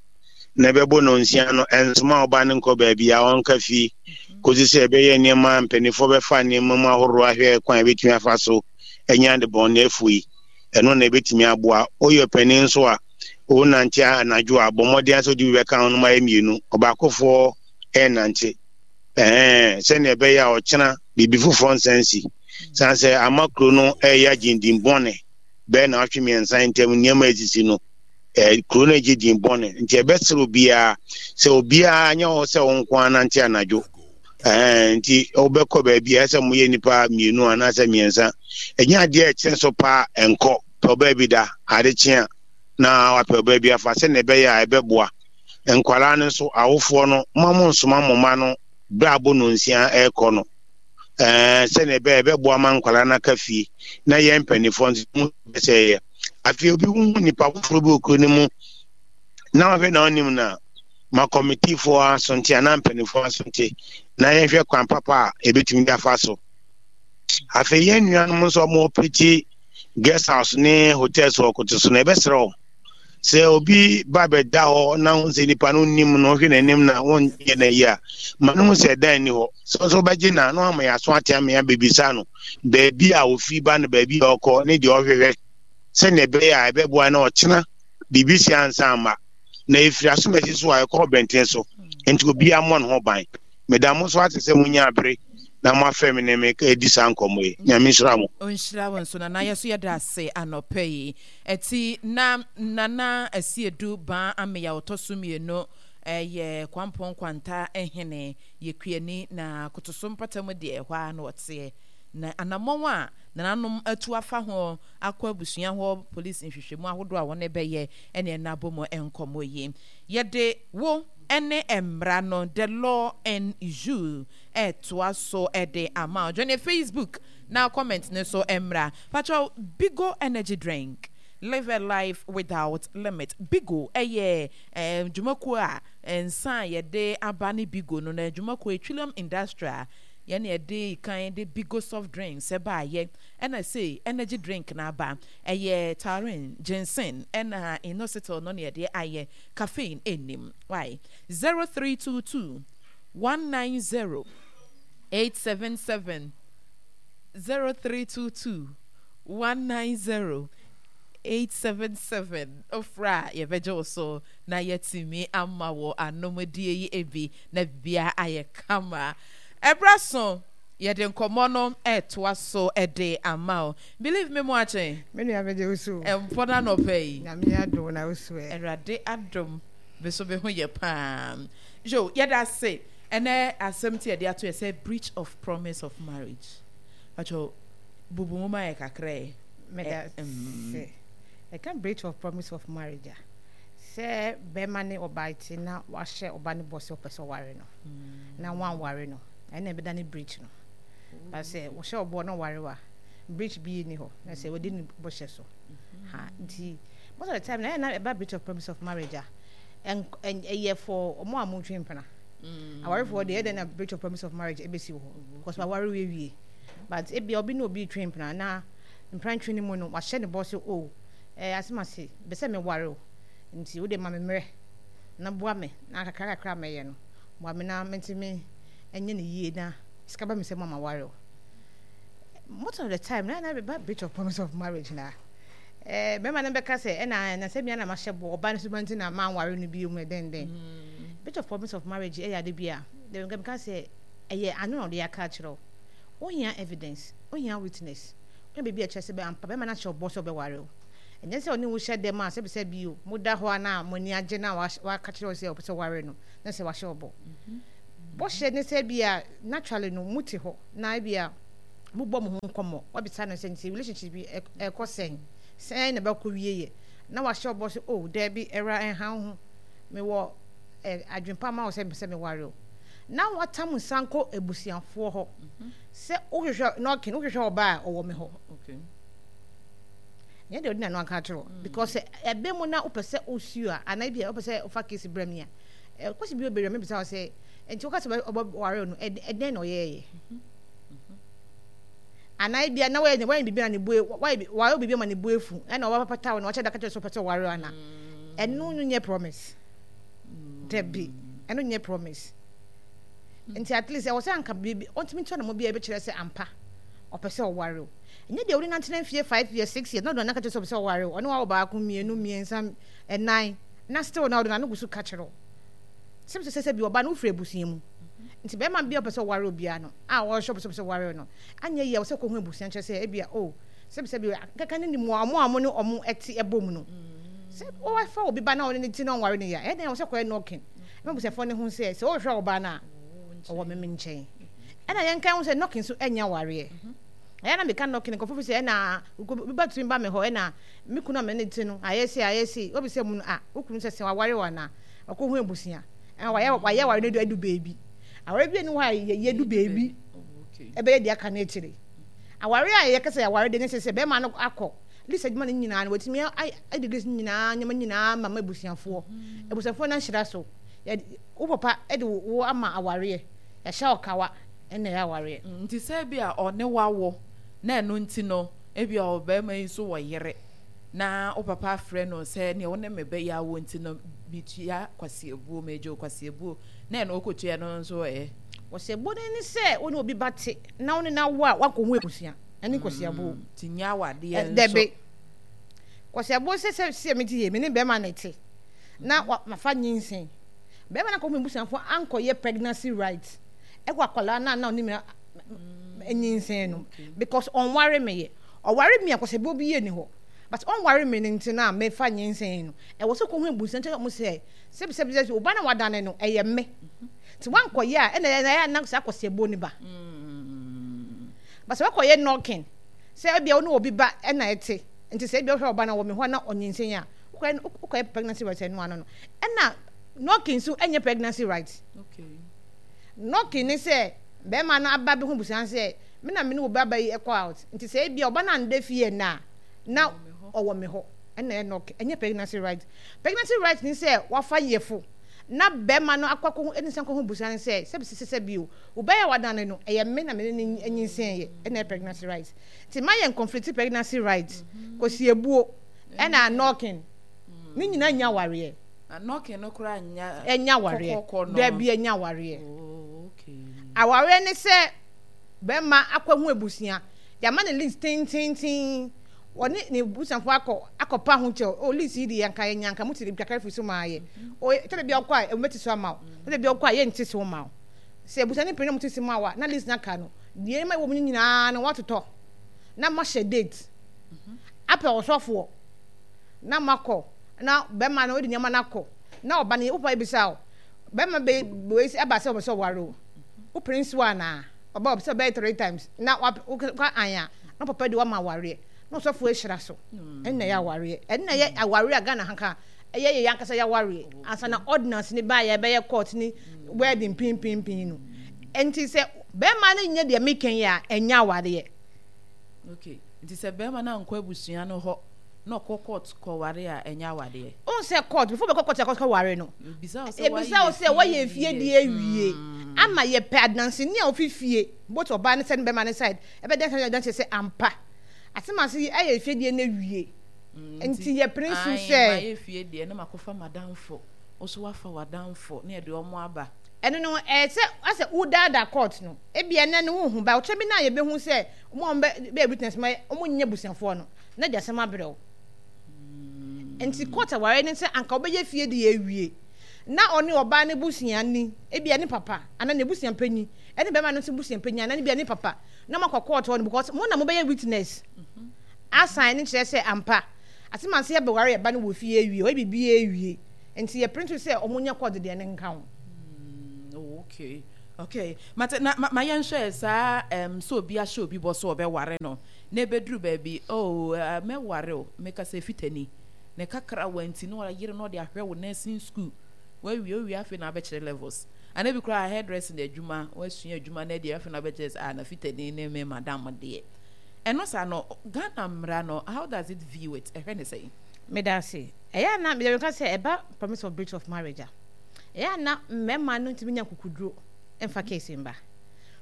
na ɛbɛbɔ nnɔnsia no, ɛnsoma ɔba no nkɔ baabi a ɔnka fie kɔsi sɛ ɛbɛyɛ nneɛma a mpanimfoɔ bɛfa nneɛma mu ahoroɔ ahwɛ kwan a ɛbɛtumi afa so anya adebɔneyɛfoɔ yi. Ɛno na ɛbɛtumi aboa. Woyɛ ɔpanin nso a, wonante anadwo a, bɔ mmɔden sɛ wode bi bɛka ho no ma ayɛ mmienu. Ɔbaakofoɔ ɛnnante. Ɛhɛn, sɛnea ɛbɛyɛ a ɔkyena biribi foforɔ nsan nsi. San sɛ ama kuro no ɛreyɛ agye din bɔne bɛyɛ naawɔtwe mmiɛnsa ntam nneɛma a ɛsisi no, eh, kuro no agye din bɔne. Nti ɛbɛsrɛ obiara sɛ obiara nyɛ hɔ sɛ wo nko ara nante anadwo. Ɛhɛn, nti wobɛkɔ baabi a ɛsɛ sɛ moyɛ nnipa mmienu anaasɛ mmiɛnsa. Ɛnyɛ adeɛ a ɛkyene so paa ɛnkɔ. Pɛ ɔbaa bi da, ade kye a na wapɛ ɔbaa bi afa sɛnea ɛbɛyɛ a ɛbɛboa. Nkwadaa no nso, awofoɔ no, mma mo nsoma mo mma no berɛ a abɔ nnɔnsia rekɔ no. Ɛɛ, sɛnea ɛbɛyɛ ɛbɛboa ma nkwadaa no aka fie na yɛn mpanimfoɔ nso mu sɛ yɛ. Afei obi hu nipa foforɔ bi wɔ kuro no mu na ɔhwɛ na ɔnim no a, ma kɔmitifoɔ aso nte anaa mpanimfoɔ aso nte na yɛnhwɛ kwan papa a ɛbɛtumi de afa so. Afei yɛn nuanom nso a wɔpete guest house ne hotels wɔ koto so no, ɛbɛsrɛ wɔn sɛ obi ba bɛda hɔ na ho sɛ nipa no nim no, ɔhwɛ n'anim na wɔnyɛ no ayi a, ma no hu sɛ ɛdan ni hɔ. Sɛ nso wobɛgye na na wama yɛaso ate ama yɛabɛbisa no baabi a ofi ba no, baabi a ɔkɔ ne deɛ ɔhwehwɛ, sɛnea ɛbɛyɛ a ɛbɛboa na ɔkyena biribi si ansa amma. Na ɛfiri asomasi so a ɛkɔ ɔbɛnten so, nti obiara mmɔ ne ho ban. Meda mo nso ase sɛ monya bere na moafrɛ me ne me adi saa nkɔmmɔ yi. Nyame nhyira mo.
Ɔnhyira wo nso Nana, yɛso yɛda ase anɔpa yi. Ɛti na Nana Asiedu Baa Ameya ɔtɔ so mmienu yɛ Kwampɔn Nkwanta hene, yɛ kuani na Kotoso mpɔtam deɛ ɛhɔ ara na ɔteɛ. Na anamɔn a nananom atu afa ho akɔ abusua hɔ polisi nhwehwɛmu ahodoɔ a wɔn bɛyɛ ɛne ɛna abɔ mu nkɔmmɔ yi. Yɛde wo ne mmara no, The Law and You, ɛtoa so de ama wo. Join Facebook na comment no so mmra. Patrɔ, Bigo Energy Drink, live a life without limit. Bigo ɛyɛ eh, dwumakuo a nsa a yɛde aba ne Bigo no, na dwumakuo Twilium Industrial yɛne yɛde kan de Bigo soft drinks ɛbaayɛ, ɛna sei energy drink na aba. Ɛyɛ taurine, ginseng, ɛna inositol no na yɛde ayɛ. Caffeine nnim. Why? zero three two two one nine zero eight seven seven zero three two two one nine zero eight seven seven Ofra a yɛbɛgye wo so na yɛatumi ama wo anomdie yi bi na biribiara ayɛ kama. Ɛberɛ so yɛde nkɔmmɔ no ɛretoa so de ama wo. Believe me moakye.
Me nua megye wo so o.
Mpɔ no anɔpa yi.
Nyame adom na wo so ɛ.
Awurade adom me so me ho yɛ paa. Yo, yɛda ase. Ɛnɛ asɛm ti yɛde ato yɛ sɛ breach of promise of marriage. Pacho, bubu mu ma yɛ kakra ɛ.
Meda ase. Ɛka breach of promise of marriage a, sɛ bɛrima ne ɔbaa te na wahyɛ ɔba no bɔ sɛ ɔpɛ sɛ ɔware no na wanware no, ɛna ɛbɛda ne breach no. But sɛ wɔhyɛ ɔbɔ na ɔware wa, breach bi nni hɔ na sɛ wɔdi ne bɔhyɛ so. Ha nti most of the time na ɛyɛ na ɛba breach of promise of marriage a, ɛyɛ for ɔmo a mo twe mpena. Awarefoɔ deɛ ɛdɛn na breach of promise of marriage ɛbɛsi wɔ hɔ because waware wie. But ebia obi ne obi retwe mpena na mprantwe no mu no wahyɛ ne bɔ sɛ o ɛɛ asɛm ase bɛ sɛ meware o nti wode ma me mmerɛ na boa me na kakra kakra mɛyɛ no boa me na mentumi ɛnyɛ ne yie na sika ba me sɛ mo ama ware o. Most of the time na na bɛba breach of promise of marriage na ɛɛ bɛrima no bɛka sɛ ɛna na sɛ mia na mahyɛ bɔ ɔba no so ba nti na manware no bio mu ɛdɛn dɛn. Breach of promise of marriage ɛyɛ ade bi a meka sɛ ɛyɛ ano na ɔde aka akyerɛ wo. Wohia evidence, wohia witness, wohia biribi a ɛkyerɛ sɛ ampa bɛrima no ahyɛ ɔbɔ sɛ ɔbɛware wo. Ɛnyɛ sɛ ɔne wo hyɛ dɛm a sɛbi sɛbi o, mo da hɔ a na mo ani agye na waka kyerɛ wo sɛ ɔpɛ sɛ ɔware no na sɛ wahyɛ wo bɔ. Bɔhyɛ ne sɛ bi a naturally no mo te hɔ na ebi a mo bɔ mo ho nkɔmmɔ, wabisa no sɛ nti relationship bi ɛkɔ sɛn, sɛn na ɛbɛkɔ wie yɛ, na wahyɛ wo bɔ sɛ oh daabi ɛwura ɛnha wo ho, mewɔ eh, adwempa ma wo sɛ mepɛ sɛ meware wo. Na watam nsa nkɔ abusuafoɔ hɔ sɛ wohwehwɛ knocking, wohwehwɛ ɔbaa a ɔwɔ me hɔ.
Okay.
Nyɛ deɛ ɔde n'ano aka akyerɛ wo because sɛ ɛbɛ mu na wopɛ sɛ wosuo a anaa ebi a wopɛ sɛ wofa case brɛ me a kwasi bi obɛwura mebisa wo sɛ nti woka sɛ ɔbɛware no ɛdɛn na ɔyɛɛyɛ anaa ebi a na wɔyɛ wɔyɛ biribi na ne bu wɔyɛ wɔayɛ biribi ama ne bu efu ɛna ɔbɛpata wo na ɔkyɛ da ka kyerɛ sɛ ɔpɛ sɛ ɔware ana ɛno no nyɛ promise dabi ɛno nyɛ promise nti at least ɛwɔ sɛ anka biribi ɔntumi ntua ne mo bi a ɛbɛkyerɛ sɛ ampa ɔpɛ sɛ ɔware o Ɛnyɛ deɛ wode no atena mfie five years, six years na ɔde n'ano aka kyerɛ sɛ ɔpɛ sɛ ɔware wo, ɔne wo awo baako, mmienu, mmiɛnsa, ɛnan, na still na ɔde n'ano gu so ka kyerɛ wo. Sɛ sɛ sɛ bi ɔba no wofiri abusua mu. Nti bɛrima bi a ɔpɛ sɛ ɔware obiara no, a ɔhwɛ ɔpɛ sɛ ɔpɛ sɛ ɔware no, anyɛ yie a ɔsɛ kɔhu abusua kyerɛ sɛ ebia oh, sɛ sɛ bi kɛkɛ ne nim wɔn a wɔn ne wɔn ɛte ɛbɔ mu no. Sɛ wɔfa obi ba na ɔne ne ti na ɔnware no yie a, ɛyɛ dɛn ɔsɛ kɔyɛ knocking. Ɛma abusuafoɔ no ho sɛ sɛ ɔhwehwɛ ɔbaa no a, ɔwɔ me nkyɛn. Ɛna yɛnka ho sɛ knocking nso ɛnyɛ awareɛ. Ɛyɛ na meka knocking nkurɔfo fi sɛ ɛna obi ba tumi ba me hɔ ɛna me kunu a me ne te no ayɛ sei ayɛ sei obi sɛ mu no a wo kunu sɛ sɛ waware wo anaa ɔkɔ hu abusua ɛna wayɛ wayɛ aware no adu baabi aware bi ani hɔ a yɛ du baabi ɛbɛyɛ deɛ aka no akyire aware a yɛka sɛ aware de ne sɛ sɛ bɛrima no akɔ list adwuma no nyinaa no watumi adi list nyinaa nneɛma nyinaa ma ma abusuafoɔ abusuafoɔ no ahyira so wo papa de wo ama awareɛ yɛahyɛ wo kawa ɛna ɛyɛ awareɛ.
Nti sɛ ebia ɔne wo awo na ɛno nti no ebia ɔbarima yi nso wɔ yere na wo papa afrɛ no sɛ neɛ wo ne me bɛyɛ awo nti no metua kwasiabuo, megye wo kwasiabuo na ɛno wokɔtua no nso ɛ?
Kwasiabuo no ne sɛ wo ne obi ba te na wo ne no awo a woankɔhu abusua ɛne kwasiabuo.
Nti nyɛ awadeɛ nso.
Dabi. Kwasiabuo sɛ sɛ sɛ mete yie me ne bɛrima na ɛte na mafa nyinsɛn bɛrima no akɔhu m'abusuafoɔ ankɔyɛ pregnancy right ɛwɔ akwadaa no a na ɔne me nyinsɛn no because ɔnware me yɛ ɔware me a kwasɛbuo bi yɛ ni hɔ but ɔnware me no nti no a mefa nyinsɛn no ɛwɔ sɛ kɔhu abusua nkyɛn ɔmo sɛ sɛbi sɛbi sɛbi ɔba na wadane no ɛyɛ me nti wankɔyɛ a ɛna ɛyɛ na saa kwasɛbuo no ba but sɛ wakɔyɛ knocking sɛ ebia wo ne obi ba ɛna ɛte nti sɛ ebia wohwɛ ɔba no wɔ me hɔ na ɔnyinsɛn a wokɔyɛ wokɔyɛ pregnancy right ɛno ano no ɛna knocking nso ɛnyɛ pregnancy right
okay.
Knocking ne sɛ bɛrima no aba bɛhu abusua no sɛ me na me ne wo ba ba yi ɛkɔ out nti sɛ ebia ɔba no anda fie ɛnnɛ a na ɔwɔ me hɔ ɛna ɛyɛ knocking ɛnyɛ pregnancy right. Pregnancy right ne sɛ wafa yefo na bɛrima no akɔ akɔhu ɛne nsa kɔhu abusua no sɛ sɛbi sɛ sɛbi o wo ba yi a wadane no ɛyɛ me na me ne no anyinsɛn yɛ ɛna ɛyɛ pregnancy right. Nti ma yɛn conflict pregnancy right kɔsi ebuo ɛna knocking ne nyinaa nnya awareɛ.
Na knocking no koraa nnya
Ɛnyɛ awareɛ.
kɔkɔkɔ no.
Dabi ɛnyɛ awareɛ.
Oh, okay.
Awareɛ ne sɛ bɛrima akɔhu abusua, yɛama no list tententen, ɔne ne busuafoɔ akɔ akɔpa ho kyɛw, oh list yi deɛ anka yɛnya anka mote kakra firi so maa yɛ. Oh, ɛtɔ da bi a wokɔ a wɔbɛte so ama wo, ɛtɔ da bi a wokɔ a yɛnte so mma wo. Sɛ abusua no pene na wɔte so ma wo a, na list no aka no, deɛ nneɛma ɛwɔ mu no nyinaa no woatotɔ na moahyɛ date apɛ ɔsɔfoɔ na moakɔ na bɛrima no wode nneɛma no akɔ na ɔba no wo papa ebisa wo bɛrima bɛ wei sɛ ɛba sɛ ɔpɛ sɛ ɔware o wopene nso anaa ɔba ɔpɛ sɛ ɔbɛyɛ three times na woka an a na papa de wama awareɛ na ɔsɔfo ahyira so ɛnna ɛyɛ awareɛ ɛnna ɛyɛ awareɛ a Ghana ha ka ɛyɛ yɛ ankasa yɛ awareɛ ansa na ordinance ne ba yɛ bɛyɛ court ne wedding pimpinpin no nti sɛ bɛrima no nyɛ deɛ meka yi a ɛnyɛ awareɛ.
Okay nti sɛ bɛrima no ankɔ abusua no hɔ na ɔkɔ court kɔware a ɛnyɛ awadeɛ.
Wohu sɛ court before bɛkɔ court akɔkɔ ware no
Yɛbisa wo sɛ
yɛbisa wo sɛ woayɛ fie deɛ awie ama yɛpɛ adanseni a ofi fie both ɔbaa ne side ne bɛrima ne side ɛbɛda sɛ adanseɛ sɛ ampa asɛm ase yi ayɛ fie deɛ no awie nti yɛpene so sɛ.
Mayɛ fie deɛ na makɔfa m'adamfo wo nso woafa w'adamfo na yɛde wɔn aba.
Ɛno no ɛyɛ sɛ asɛ wodaadaa court no ebia ɛnɛ no wonhu ba ɔkyɛ bi no a yɛbɛhu sɛ wɔn a wɔbɛ bɛyɛ witness ma wɔn nyɛ abusuafoɔ no na de asɛm abrɛ wo. Nti court aware ne sɛ anka wobɛyɛ fie de awie na ɔne ɔbaa no busuani, ebia ne papa anaa n'abusua panyin, ɛne bɛrima no nso busua panyin anaa ebia ne papa na moakɔ court hɔ no because mo na mobɛyɛ witness asan ne kyerɛ sɛ ampa Asɛm ase yɛbɛware yɛba no wɔ fie awie, ɔyɛ biribi awie. Nti yɛ pere nso sɛ ɔmo nyɛ court deɛ ne nka ho.
Mm, oh, okay. Okay. Mate na ma, ma yɛnhwɛ saa um, sɛ obi ahyɛ obi bɔ so ɔbɛware no na ɛbɛduru baabi, oh, uh, mɛware o, meka sɛ fitani ne kakra wa nti na ɔyere na ɔde ahwɛ wo nursing school wawie owie, afei na abɛkyerɛ levels ana bi koraa hairdressing adwuma, wasua adwuma na deɛ afei na abɛkyerɛ sɛ ah, na fitani ne me madam deɛ. Ɛno saa no, Ghana mmara no, how does it view it? Ɛhwɛ ne sɛn?
Meda ase. Ɛyɛ ana mede meka sɛ ɛba promise of breach of marriage a, ɛyɛ ana mmarima no ntumi nya kukuduro mfa case mba.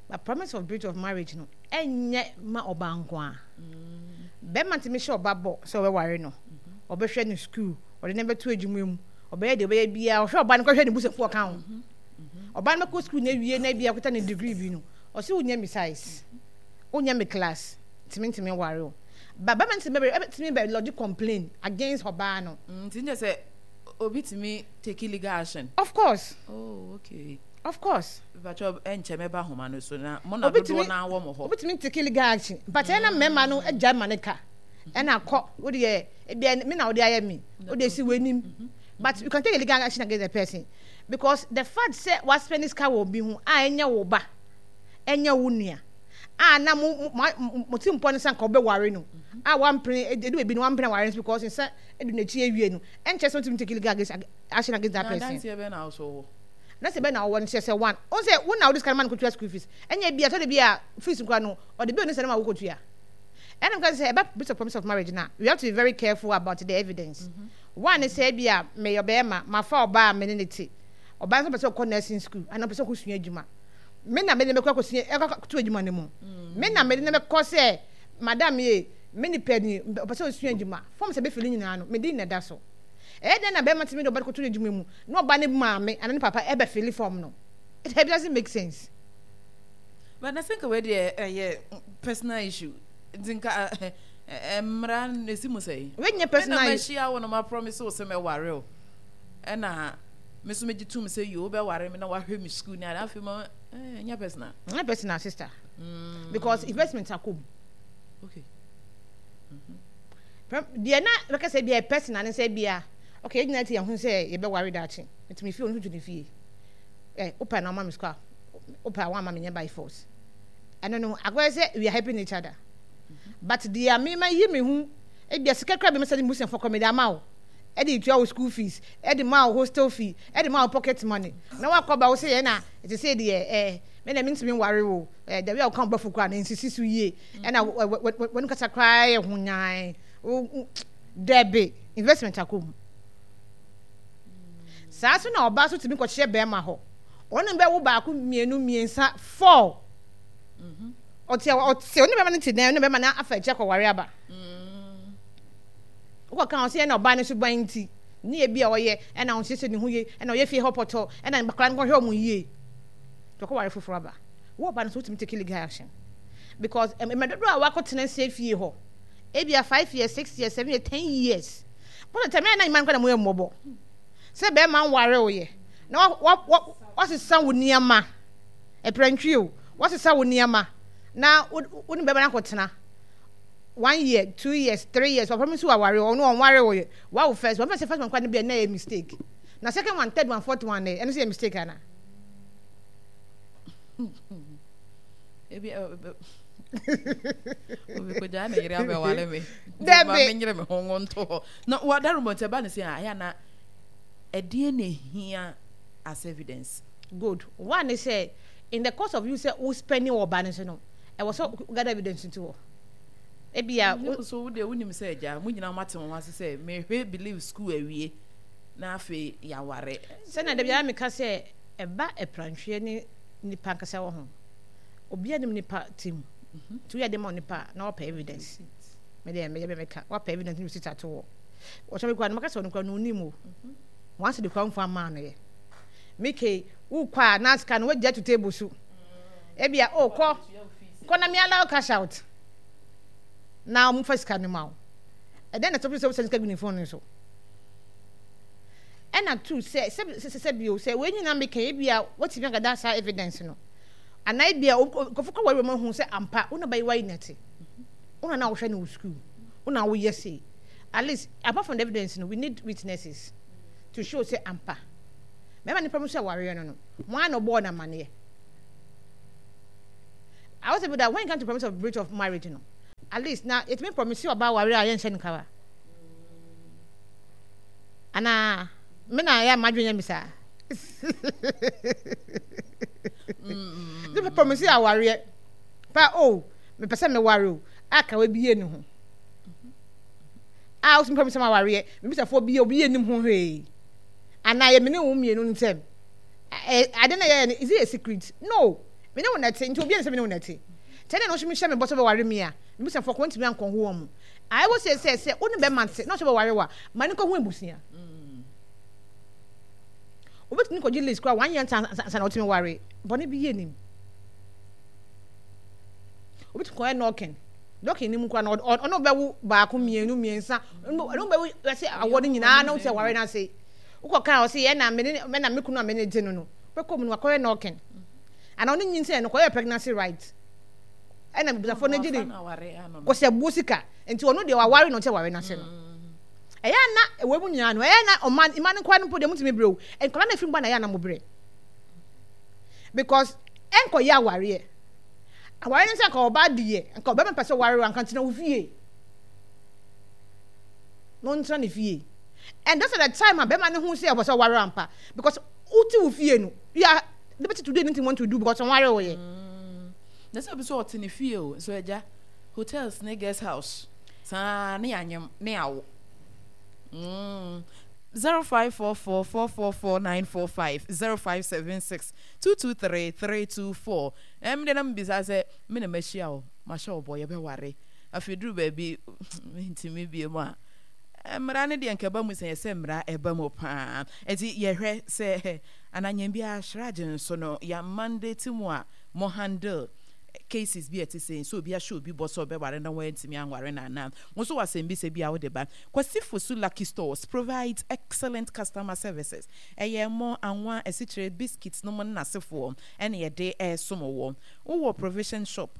But promise of breach of marriage no, ɛnyɛ ma ɔbaa nko a. Bɛrima ntumi hyɛ ɔba bɔ sɛ ɔbɛware no, ɔbɛhwɛ no school, ɔde no bɛto adwuma mu, ɔbɛyɛ deɛ ɔbɛyɛ biara, ɔhwɛ ɔba no kɔhwɛ ne busuafoɔ ɔka ho. Ɔba no bɛkɔ school na awie na ebia ɔkuta ne degree bi no, ɔsɛ wonyɛ me size, wonyɛ me class, ntumi ntumi nware o. But bɛrima ntumi bɛ ɛtumi bɛ lodge complain against ɔbaa no.
Nti nyɛ sɛ obi tumi take legal action?
Of course.
Oh, okay.
Of course.
Mpakyɛ, ɛnkyɛ mɛba ahoma no so na mo na dodoɔ naa wɔ mo hɔ.
Obi tumi take legal action, but ɛna mmarima no agya ma ne ka ɛna kɔ wo deɛ, ebia me na wode ayɛ me, wode si w'anim, but you can take a legal action against the person because the fact sɛ wa spend sika wɔ obi ho a ɛnyɛ wo ba, ɛnyɛ wo nua a na mo mo mo ti mpɔ ne sɛ nka ɔbɛware no a wampene, edu ebi no wampene aware no because nsa edu n'akyi awie no, ɛnkyɛ sɛ ɔtumi take legal against action against that person.
Na adanseɛ bɛn na ɔso wɔ?
Na sɛ bɛn na ɔwɔ no kyerɛ sɛ one ɔn sɛ wo na wode sika no ma no kɔtua school fees, ɛnyɛ bi a tɔde bi a fees nkora no ɔde bill ne sɛ no ma wo kɔtua. Ɛna mka sɛ ɛba breach of promise of marriage na we have to be very careful about the evidence. mm -hmm. One ne sɛ bi a meyɛ ɔbɛrima, mafa ɔbaa a me ne ne te, ɔbaa nso pɛ sɛ ɔkɔ nursing school anaa ɔpɛ sɛ ɔkɔsua adwuma, me na mede ne bɛkɔ akɔsua ɛkɔto adwuma no mu, me na mede ne bɛkɔ sɛ madam ye, me nipa ni ɔpɛ sɛ ɔsua adwuma, fɔm sɛ bɛfili nyinaa no mede na ɛda so. Ɛyɛ dɛn na bɛrima tumi de ɔba de kɔto adwuma mu na ɔba ne maame anaa ne papa ɛbɛfili fɔm no? It doesn't make sense.
But na sɛ nka wei deɛ ɛyɛ personal issue nti nka mmara no esi mu sɛ
wei nyɛ personal
issue. Me na mahyia wo no, ma promise wo sɛ mɛware o, ɛna me nso megye tom sɛ yo, wobɛware me na wahwɛ me school ne ade, afei ma ɛnyɛ personal.
Nyɛ personal, sister, mm. because investment akɔ mu.
Okay.
Deɛ na bɛka sɛ bia personal ne sɛ bia okay, yɛn nyinaa ti yɛn ho sɛ yɛbɛware daakye, nti me fie, ɔno nso tu ne fie, ɛ wopɛ na ɔma me sika, wopɛ a wɔama me, nyɛ by force. Ɛno no akɔyɛ sɛ we are helping each other, but deɛ mema yi me ho, ebia sika kura bi me sɛ ne busuafo kɔ mede ama wo, ɛde tua wo school fees, ɛde ma wo hostel fee, ɛde ma wo pocket money, na wakɔ ba wo sɛ yɛn na ɛte sɛ deɛ ɛɛ me na mentumi nware wo, ɛɛ dabi a wɔka wo bɛfo koraa na nsisi so yie, ɛna wɔn kasa koraa yɛ ho nyan dɛbi, investment akɔ mu saa so. Na ɔbaa so tumi kɔkyerɛ bɛrima hɔ, ɔne bɛwo baako, mmienu, mmiɛnsa, four, ɔte ɔte ɔne bɛrima no te dan, ɔne bɛrima no afa akyi akɔware aba. Wokɔ kan ɔsɛ ɛna ɔbaa no so ban nti ne yɛ bi a ɔyɛ ɛna ɔnsiesie ne ho yie, ɛna ɔyɛ fie hɔ pɔtɔ, ɛna nkwadaa no kɔhwɛ ɔmo yie, ɔkɔware foforɔ aba. Wo ɔbaa no so wotumi take legal action because mmerɛ dodoɔ a wakɔtena sie fie hɔ, ebia five years, six years, seven years, ten years, bɔtɔ tɛmɛ ɛna nyima no kɔ na mo yɛ mmɔbɔ sɛ bɛrima nware wo yɛ na wa wa wasesa wo nneɛma ɛprɛntwi o, wasesa wo nneɛma na wo wo ne bɛrima no akɔtena one year, two years, three years, papa mi nso waware, ɔno ɔnware wo yɛ, wawo first one, first first one kora no bi ɛna yɛ mistake, na second one, third one, fourth one ɛno nso yɛ mistake ana?
Ebi obi kogyaa ne yere abɛware me.
Dabi.
Ma menyere me ho ngo nto hɔ na wadaro mɔ nti ɛba ne sɛ ayɛ na ɛdeɛ na ehia as evidence?
Good one ne sɛ in the course of you sɛ wo spending wɔ ɔba no so no, ɛwɔ sɛ gather evidence nti wɔ ebia.
Wo so wo deɛ wonim sɛ agya mo nyinaa moate mo ho ase sɛ mehwɛ believe school awie na afei yɛaware.
Sɛnea da biara meka sɛ ɛba aprantweɛ ne nipa ankasa wɔ ho, obiara nim nipa ti mu, nti woyɛ de ma onipa na wapɛ evidence, me deɛ meyɛ meka wapɛ evidence ne receipt ato wɔ wɔkyɛ me kora no, maka sɛ ɔno kora no onim o, wɔn asɛ de kora mfa maa no yɛ meke wokɔ a na sika no wagya to table so, ebia o kɔ kɔ na me allow cash out na wɔn fa sika no ma wo. Ɛdɛn na sɛ sɛ sɛ sika gu ne phone no so? Ɛna two, sɛ sɛ sɛ sɛ bio sɛ wɔn nyinaa meka ebia wɔtumi agada saa evidence no anaa ebia nkɔfo kɔ wɔn mu hu sɛ ampa wɔn na bɛyɛ wɔayi nɛte, wɔn na na wɔhwɛ no wɔ sukuu, wɔn na wɔyɛ sei At least apart from the evidence no, we need witnesses to show sɛ ampa bɛrima no promise awareɛ no no wɔn a na ɔbɔɔ no amaneɛ. I was able that when it comes to promise of breach of marriage no, at least na yɛtumi promise ɔbaa awareɛ a yɛnhyɛ no kawa anaa me na ɛyɛ amadwene yɛ me saa. Ne promise awareɛ pa o, mepɛ sɛ meware o, a kawa bi yɛ ne ho a wosɛ promise ma awareɛ mebisafoɔ bi obi yɛ nim ho hwee anaa yɛ mene wo mmienu ntɛm ade na yɛyɛ no, is it a secret? No, mene wo nɛte nti obi yɛ ne sɛ mene wo nɛte kyɛ ne na ɔhyɛ mehyɛ me bɔ sɛ bɛware me a mebisafoɔ kɔ ntumi ankɔ ho wɔn mu. I will say sɛ sɛ wo ne bɛma nte na ɔhyɛ bɛware wa ma ne nkɔ ho abusua. Wobɛtumi kɔgye list koraa one year ansa na wotumi ware. Bɔne bi yɛ nim. Wobɛtumi kɔyɛ nɔɔken. Nɔɔken ni mu koraa na ɔne wobɛwo baako mmienu mmiɛnsa. Ɔne wobɛwo ɛsɛ awɔ no nyinaa na wosɛ ware no ase. Wokɔ kan ɔsɛ yɛ na mene na me kunu a mene gye no no. Wobɛkɔ mu no wakɔyɛ nɔɔken. Ana ɔne nyinsɛn no kɔyɛ pregnancy right. Ɛna busafoɔ no gye de kɔsɛ buo sika. Nti ɔno deɛ waware na ɔsɛ ware no ase no. Ɛyɛ a na ɛwɔ mu nyinaa no, ɛyɛ a na ɔma mma no nkoa no mpo deɛ motumi brɛ o. Nkwadaa no afiri mu ba na ɛyɛ a na mo brɛ. Because ɛnkɔyɛ awareɛ. Awareɛ no sɛ nka ɔbaa deɛ, nka ɔbɛma pɛ sɛ ɔware wo anka ntena wo fie. Na ɔntena ne fie. And that's at the time a bɛma no ho sɛ ɔpɛ sɛ ɔware ampa. Because wote wo fie no, you are liberty to do anything you want to do because ɔnware wo yɛ.
Mm. Na sɛ obi sɛ ɔte ne fie o, so agya, hotels ne guest house. Saa ne yɛanyem ne yɛawo. Mm. Zero five four four four four four nine four five zero five seven six two two three three two four. Ɛm de na mebisa sɛ me na mahyia wo, mahyɛ wo bɔ yɛbɛware. Afei duru baabi mentumi bie mu a mmara no deɛ nka ɛba mu sɛ yɛsɛ mmara ɛba mu paa. Nti yɛhwɛ sɛ ananyɛn biara shraj nso no yɛ mandate mu a mo handle cases bi a ɛte sei, sɛ obi ahyɛ obi bɔ sɛ ɔbɛware na wantumi anware no anaa? Wo nso wɔ asɛmbisa bi a wode ba? Kwasi Fosu Lucky Stores provides excellent customer services. Ɛyɛ ɛmo, anwa, asikyire, biscuits nom ne n'asefoɔ ɛna yɛde resom wo. Wowɔ provision shop,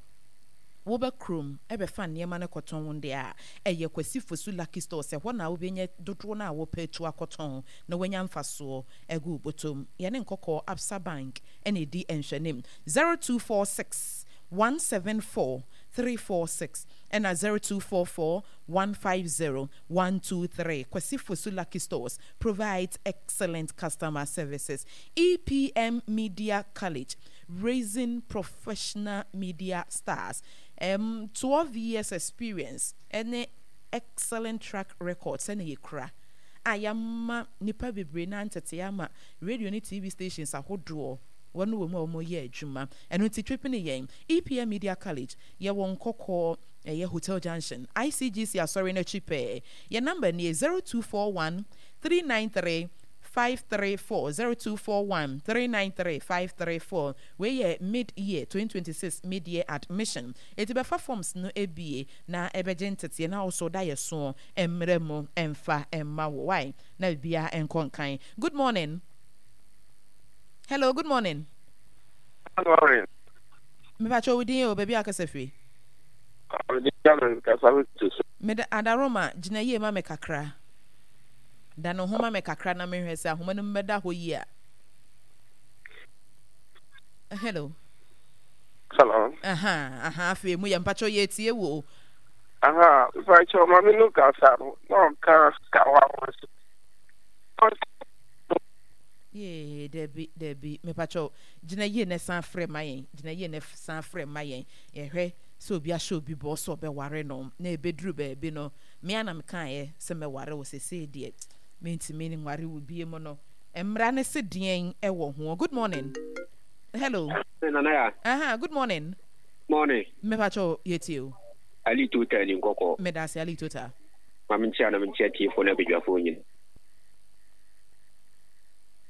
woba kurom bɛfa nneɛma no kɔtɔn deɛ a, ɛyɛ Kwasi Fosu Lucky Stores, ɛhɔ na wobɛnya dodoɔ no a wopɛ atu akɔtɔn na woanya mfasoɔ agu wo bɔtɔm. Yɛne Nkɔkɔɔ Absa Bank na ɛdi nhwɛanim. Zero two four six one seven four three four six ɛna zero two four four one five zero one two three. Kwasi Fosu Lucky Stores provides excellent customer services. E P M Media College, raising professional media stars. Um, twelve years experience ɛne excellent track record sɛnea yɛkura a yɛama nnipa bebree no antetee ama radio ne T V stations ahodoɔ wɔn wɔ mu a wɔyɛ adwuma. Ɛno nti twepene yɛn E P M Media College, yɛwɔ Nkɔkɔɔ, ɛyɛ Hotel Junction, I C G C Asɔre no akyi pɛɛ. Yɛn number nie, zero two four one three nine three five three four, zero two four one three nine three five three four. Wei yɛ mid year twenty twenty six mid year admission. Enti bɛfa forms no abie na ɛbɛgye nteteɛ na wo so da yɛ soɔ mmerɛ mu mfa mma wo. Wai? Na biribiara nkɔ nkan. Good morning. Hello, good morning.
Good morning.
Mepakyɛ wo din o, baabi a akasa firi. Meda Adaroma, gyina yie ma me kakra. Da ne ho ma me kakra na menhwɛ sɛ ahoma no mu bɛda hɔ yie a. Hello.
Hello.
Aha, aha, afei mu yɛ mpakyɛ yɛ tie wo.
Aha, mpakyɛ maame no kasa no, na ɔka kawa ho so.
Yee, dabi, dabi, mepakyɛw, gyina yie na san frɛ ma yɛn, gyina yie na san frɛ ma yɛn. Yɛhwɛ sɛ obi ahyɛ obi bɔ sɛ ɔbɛware no, na ebeduru baabi no, me ara na mekaeɛ sɛ mɛware wo, seesei deɛ mentumi nware wo bie mu no. Mmara no se deɛn wɔ ho? Good morning. Hello.
Nana ya.
Aha, good morning.
Morning.
Mepakyɛw, yɛtie o.
Ali Tota ni nkɔkɔ.
Medase, Ali Tota.
Ma menkyia na menkyia tiefoɔ ne abadwafoɔ nyina.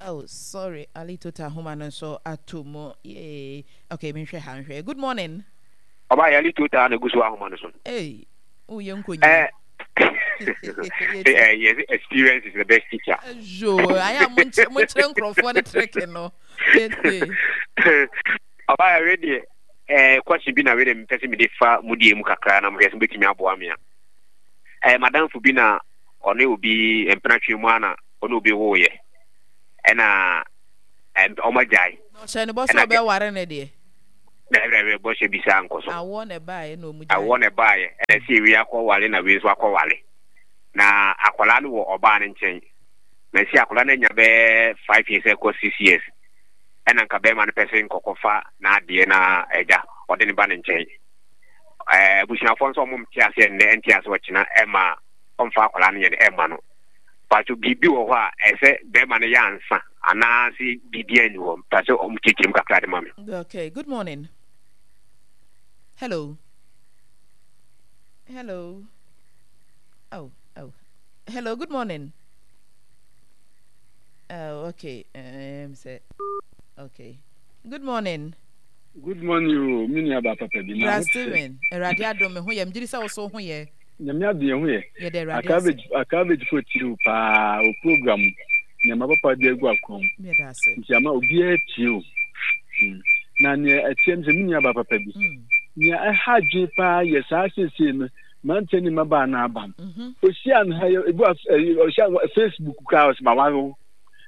Oh sorry Ali Tota ahoma no nso ato mu yee okay menhwɛ ha nhwɛ. Good morning.
Ɔbaa yɛ Ali Tota na egu so ahoma no so.
Hey, oh yɛ nkonya.
Eh, eh, yes, experience is the best teacher.
Yo, ayɛ a monkyerɛ nkurɔfoɔ ne treke no.
Ɔbaa yɛ wei deɛ eh, question bi na wei deɛ mepɛ sɛ mede fa mu deɛ mu kakra na mohwɛ sɛ mobɛtumi aboa me a. Eh, madamfo bi na
Ɔne obi mpena twe mu ana ɔne obi woyɛ. Ɛna ɔmo agyae.
Ɔhyɛ ne bɔ sɛ ɔbɛware ne deɛ.
Dɛbɛdɛbɛ bɔhyɛ bi saa nkɔ so.
Awoɔ na ɛbaeɛ na ɔmo gyae.
Awoɔ na ɛbaeɛ ɛna si ewi akɔwale na wei nso akɔwale. Na akwadaa no wɔ ɔbaa no nkyɛn. Na si akwadaa no anya bɛyɛ five years ɛkɔ six years. Ɛna nka bɛrima no pɛ sɛ nkɔkɔfa n'adeɛ na ɛgya ɔde ne ba ne nkyɛn. Ɛɛ abusuafoɔ nso ɔmo nte aseɛ nnɛ nte aseɛ ɔkyena ɛma ɔmfa akwadaa no yɛ no ɛma no. Pato biribi wɔ hɔ a ɛsɛ bɛrima no yɛ ansa anaasɛ biribi ani hɔ pɛ sɛ ɔmo kyekyere mu kakra de ma me.
Okay, good morning. Hello. Hello. Oh, oh. Hello, good morning. Oh, okay. Um, say, okay. Good morning.
Good morning o, me nua ba papa bi na.
Bra Steven, Awurade adom me ho yɛ. Megye di sɛ wo so ho yɛ.
Nyame adom yɛ ho yɛ.
Yɛda Awurade ase.
Akaabegye fo tiri wo paa o program nneɛma papa de agu akwan mu.
Yɛda ase.
Nti ama obiara tie o. Mm. Na nea ɛteɛ no sɛ me nua ba papa bi.
Mm.
Nea ɛha adwene paa yɛ saa seesei no mmeranteɛ ne mmabaa no aba no.
Mhm.
Ohyia no ha yɛ ebi wɔ ɔhyia no Facebook koraa ɔsɛ ma ware wo.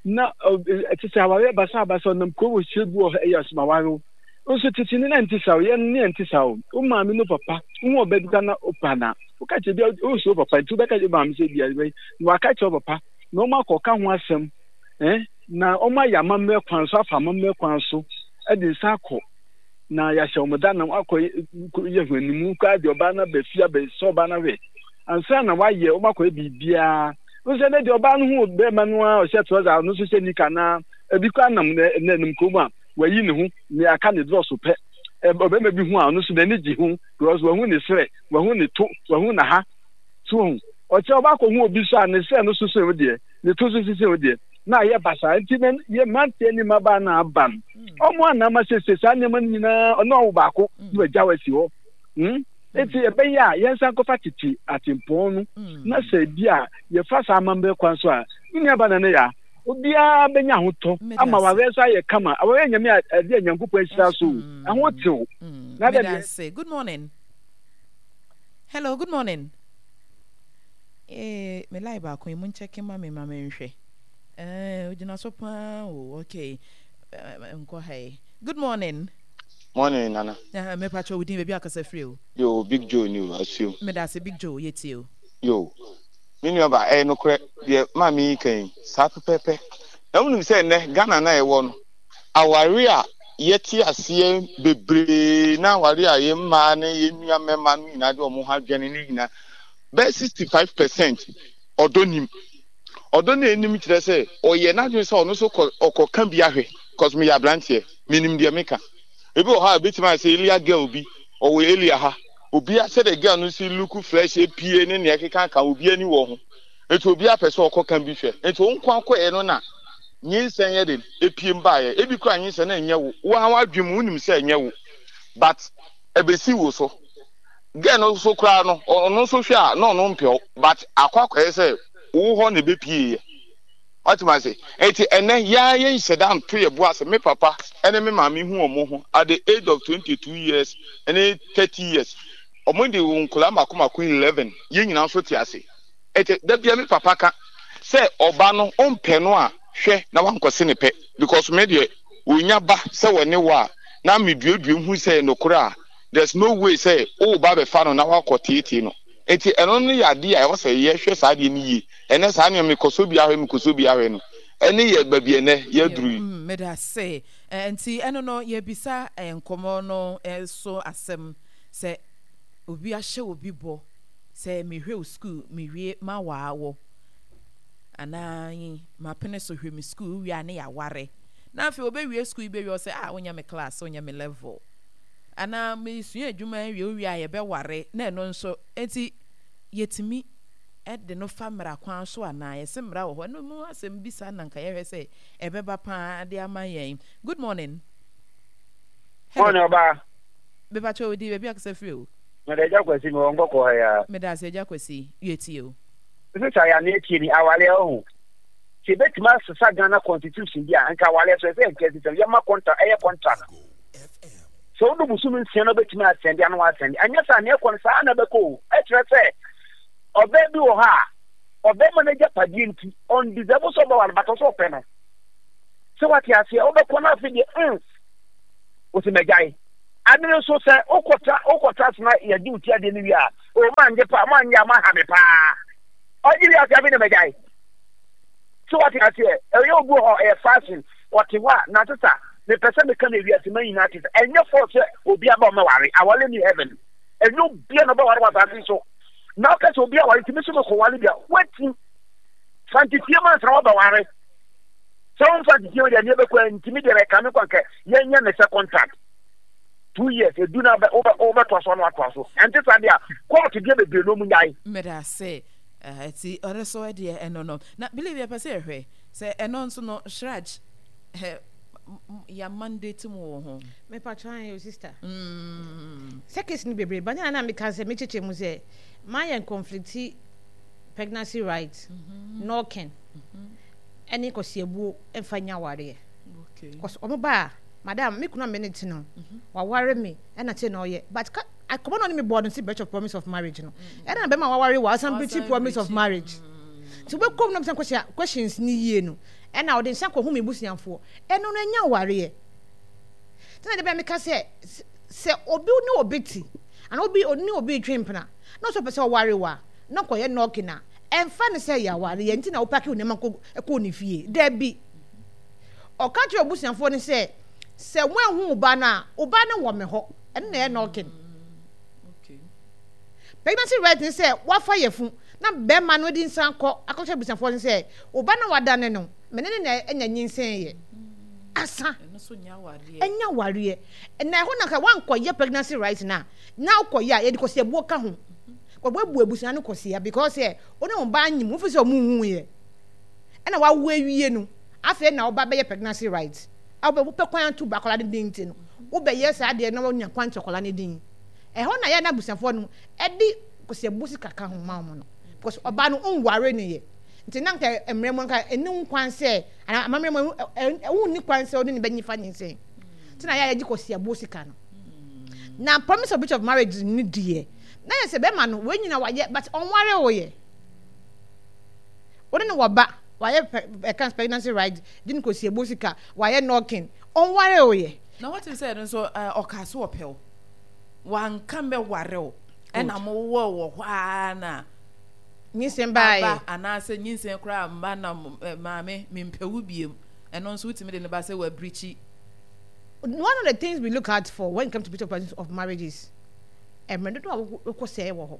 Na ɛte sɛ awareɛ basabasa ɔnam kurom ɔhyia bi wɔ hɔ ɛyɛ ɔsɛ ma ware wo. Nso tete ne na nte saa o, yɛn ne nte saa o. Wo maame no papa, wo ɔbɛ bi ka na opa na. Woka kyerɛ bi a wosuro papa nti wobɛka kyerɛ maame sɛ bi a na waka kyerɛ papa na wɔn akɔka ho asɛm eh na wɔn ayɛ amammerɛ kwan so afa amammerɛ kwan so de nsa akɔ na yɛahyɛ wɔn da na akɔ yɛ ho animu koraa deɛ ɔbaa no aba fie abɛsɛ ɔbaa no ahwɛ ansa na wayɛ wɔn akɔyɛ biribiara nso ɛnɛ deɛ ɔbaa no ho bɛrima no a ɔhyɛ trɔsa ɔno nso hyɛ nika na ebi koraa nam na nam kurom a wayi ne ho ne aka ne drɔso pɛ ɔbɛrima bi ho a ɔno nso n'ani gye ho because wahu ne serɛ wahu ne to wahu n'aha so wahu ɔkyɛ ɔba akɔhu obi so a ne serɛ no soso wo deɛ ne to so sisi wo deɛ na ayɛ basaa nti na yɛ mmeranteɛ ne mmabaa na aba no ɔmo anam asiesie saa nneɛma no nyinaa ɔno awo baako na wagya wo asi hɔ hmm eti ɛbɛyɛ a yɛnsan kɔfa tete atempɔn no na sɛ bi a yɛfa saa amammerɛ kwan so a ne nuaba na ne ya obiara bɛnya ahotɔ ama wareɛ nso ayɛ kama awareɛ nyame a ɛde a Nyankopɔn ahyira so ɛho tew na dɛ
deɛ. Good morning. Hello, good morning. Eh, me lie baako yi mu nkyɛke ma me ma me nhwɛ. Eh, ogyina so paa o. Okay. Nkɔ ha yi. Good morning.
Morning, Nana.
Uh, me pacho within baby akasa free o.
Yo, Big Joe ni o, asuo.
Me da se Big Joe yetie o.
Yo. Me nua ba, ɛyɛ nokorɛ deɛ maame yi ka yi, saa pɛpɛɛpɛ. Na wonim sɛ nnɛ Ghana na yɛwɔ no, aware a yɛte aseɛ bebree na aware a yɛn mmaa ne yɛn nua mmarima no nyinaa de wɔn ho adwene ne nyinaa bɛyɛ sixty five percent ɔdɔ nim. Ɔdɔ no anim kyerɛ sɛ ɔyɛ n'adwene sɛ ɔno nso kɔ ɔkɔka bi ahwɛ cause meyɛ aberanteɛ menim deɛ meka. Ebi wɔ hɔ a ebetumi ayɛ sɛ elia girl bi ɔwɔ elia ha obia sɛdeɛ girl no si look fresh epie ne nea ɛkeka ka obi ani wɔ ho nti obi apɛ sɛ ɔkɔka bi hwɛ nti wo nko akɔɛ no na nyinsɛn yɛ de epie mbaeɛ ebi kura nyinsɛn na ɛnyɛ wo wo ara w'adwene mu wonim sɛ ɛnyɛ wo but ɛbɛsi wo so girl no nso koraa no ɔno nso hwɛ a na ɔno mpɛ wo but akɔ akɔyɛ sɛ wo hɔ na ɛbɛpie yɛ wate ma se eti ɛnɛ yaa yɛ nhyɛ da nto yɛ bo ase me papa ɛne me maame hu wɔn ho at the age of twenty two years ɛne thirty years wɔn de wɔn nkɔla mako mako eleven yɛn nyinaa nso te ase eti dabia me papa ka sɛ ɔba no ɔmpɛ no a hwɛ na wankɔse ne pɛ because me deɛ onya ba sɛ wɔne wo a na meduadua hu sɛ nokorɛ a there's no way sɛ wo ba bɛfa no na wakɔ teetee no nti ɛno no yɛ adeɛ a ɛwɔ sɛ yɛhwɛ saa adeɛ no yie ɛnɛ saa nneɛma mekɔsɔ bi ahwɛ mekɔsɔ bi ahwɛ no ɛne yɛ baabi ɛnɛ yɛaduru yi.
Mm, meda ase. Nti ɛno no yɛbisa nkɔmmɔ no so asɛm sɛ obi ahyɛ obi bɔ sɛ mehwɛ wo sukuu mewie mawaa wɔ anaa mapene so hwɛ me sukuu wie a ne yɛaware na afei wɔbɛwie sukuu yi bɛwie ɔsɛ ah wonyɛ me class wonyɛ me level anaa mesua adwuma awie wowie a yɛbɛware na ɛno nso nti yɛtumi de no fa mmara kwan so anaa yɛsɛ mmara wɔ hɔ ɛno mu asɛm bi saa na nka yɛhwɛ sɛ ɛbɛba paa de ama yɛn. Good morning.
Hello. Morning ɔbaa.
Mepakyɛ odi baabi akasa firi o.
Meda agya Kwasi mewɔ nkɔkɔɔ ha yi ara.
Meda ase agya Kwasi yɛtie o.
Sista yɛ anaa tie ni awareɛ ɔho sɛ yɛbɛtumi asesa Ghana constitution bi a nka awareɛ so ɛsɛ yɛnka system yɛma contra ɛyɛ contract sɛ wodo bosome nsia na wobɛtumi asɛnde ano asɛnde anyɛ saa neɛ ɛkɔ no saa na ɛbɛkɔ o ɛkyerɛ sɛ ɔbaa bi wɔ hɔ a Ɔbɛrima no agyapadeɛ nti, ɔndeserve sɛ ɔbɛware but ɔsɛ ɔpɛ no. Sɛ wate aseɛ, wobɛkɔ no afei deɛ mm, wosi magyae. Ade no nso sɛ wokɔtra wokɔtra ase na yɛgye wo ti adeɛ no wie a, o mangye paa, manyɛ a moaha me paa. Ɔgye wie ase afei na magyae. So wate aseɛ, ɛyɛ obi wɔ hɔ ɛyɛ fashion, ɔte hɔ a, na sesa, mepɛ sɛ meka no ewiase ma nyinaa te sɛ, ɛnyɛ force sɛ obi aba ɔmɛware, aware ni heaven. Ɛnyɛ obia na ɔbɛware wɔ asase so. Na ɔka sɛ obi aware nti me so mekɔware bi a, wati. Fa nteteɛ mu ansa na wabɛware. Sɛ womfa nteteɛ mu deɛ nneɛ bɛkɔ nti me deɛ bɛka me kɔ anka yɛnyɛ ne sɛ contract. Two years, edu na wobɛtoa so ano atoa so. Ɛnte saa deɛ a, court deɛ bebree na ɔmu nyae.
Meda ase. Ɛti ɔno so deɛ ɛno no. Na believe yɛpɛ sɛ yɛhwɛ sɛ ɛno nso no Shraj ya mandate mu wɔ ho.
Me patro an yo sister. Mm. Sɛ case no bebree ba na na meka sɛ mekyekye mu sɛ ma yɛn conflicti pregnancy right mm -hmm. knocking ɛne mm -hmm. kɔsiabuo mfa nya awareɛ. Okay. Kɔs ɔmo ba a madam me kunu a me ne te no mm-hmm. waware me ɛna kyɛ na ɔyɛ but ka akɔmɔ na ɔne me bɔɔ no si breach of promise of marriage no mm. ɛna bɛma waware wa ɔsan breach promise of marriage nti wobɛkɔm na bisa questions ni yie no ɛna ɔde nsa kɔhu me busuafoɔ ɛno no ɛnya awareɛ nti na de bɛn meka sɛ sɛ obi ne obi te ana obi ne obi retwe mpena na ɔsɛ ɔpɛ sɛ ɔware wa na ɔkɔyɛ nɔɔke na ɛmfa ne sɛ yɛ awareɛ nti na wopake wo nneɛma kɔ ne fie dabi ɔka kyerɛ obusuafoɔ no sɛ sɛ woanhu wo ba no a wo ba no wɔ me hɔ ɛno na ɛyɛ nɔɔke pregnancy right ne sɛ wafa yɛfu na bɛrima no de nsa kɔ akɔkyerɛ abusuafoɔ no sɛ wo ba no wadane no me ne ne na anya nyinsɛn yɛ asa ɛnya awareɛ na ɛhɔ na ka wankɔyɛ pregnancy right na na wokɔyɛ a yɛde kɔsiabuo ka ho wɔbɛbu abusua no kɔsia because sɛ wo ne wo ba anyim wofi sɛ ɔmo nhu yɛ ɛna wawo awie no afei na woba bɛyɛ pregnancy right a wopɛ kwan ato ba akwadaa no din nti no wobɛyɛ saa deɛ na wonya kwan to akwadaa no din ɛhɔ na yɛ na abusuafoɔ no ɛde kɔsiabuo sika ka ho ma wɔn no because ɔbaa no nware no yɛ nti na nka mmerɛ mu nka ɛni ho kwan sɛ anaa amammerɛ mu ɛwo nni kwan sɛ ɔne ne bɛnyi fa nyinsɛn nti na yɛ a yɛgye kɔsiabuo sika no na promise of breach of marriage ne deɛ na yɛ sɛ bɛrima no wɔn nyina wayɛ but ɔnware wo yɛ wɔne ne wɔ ba wayɛ ɛka pregnancy right gye ne kɔsiabuo sika wayɛ knocking ɔnware wo yɛ.
Na wɔte sɛ ɛno nso ɔkaa so ɔpɛ wo wanka mɛware wo ɛna mo wɔ wɔ hɔ ara na
nyinsɛn baeɛ
aba anaasɛ nyinsɛn koraa mma na maame mempɛ wo biem ɛno nso wotumi de ne ba sɛ wabirikyi.
One of the things we look out for when it comes to breach of promise of marriage is mmerɛ dodoɔ a wokɔ sɛɛ wɔ hɔ.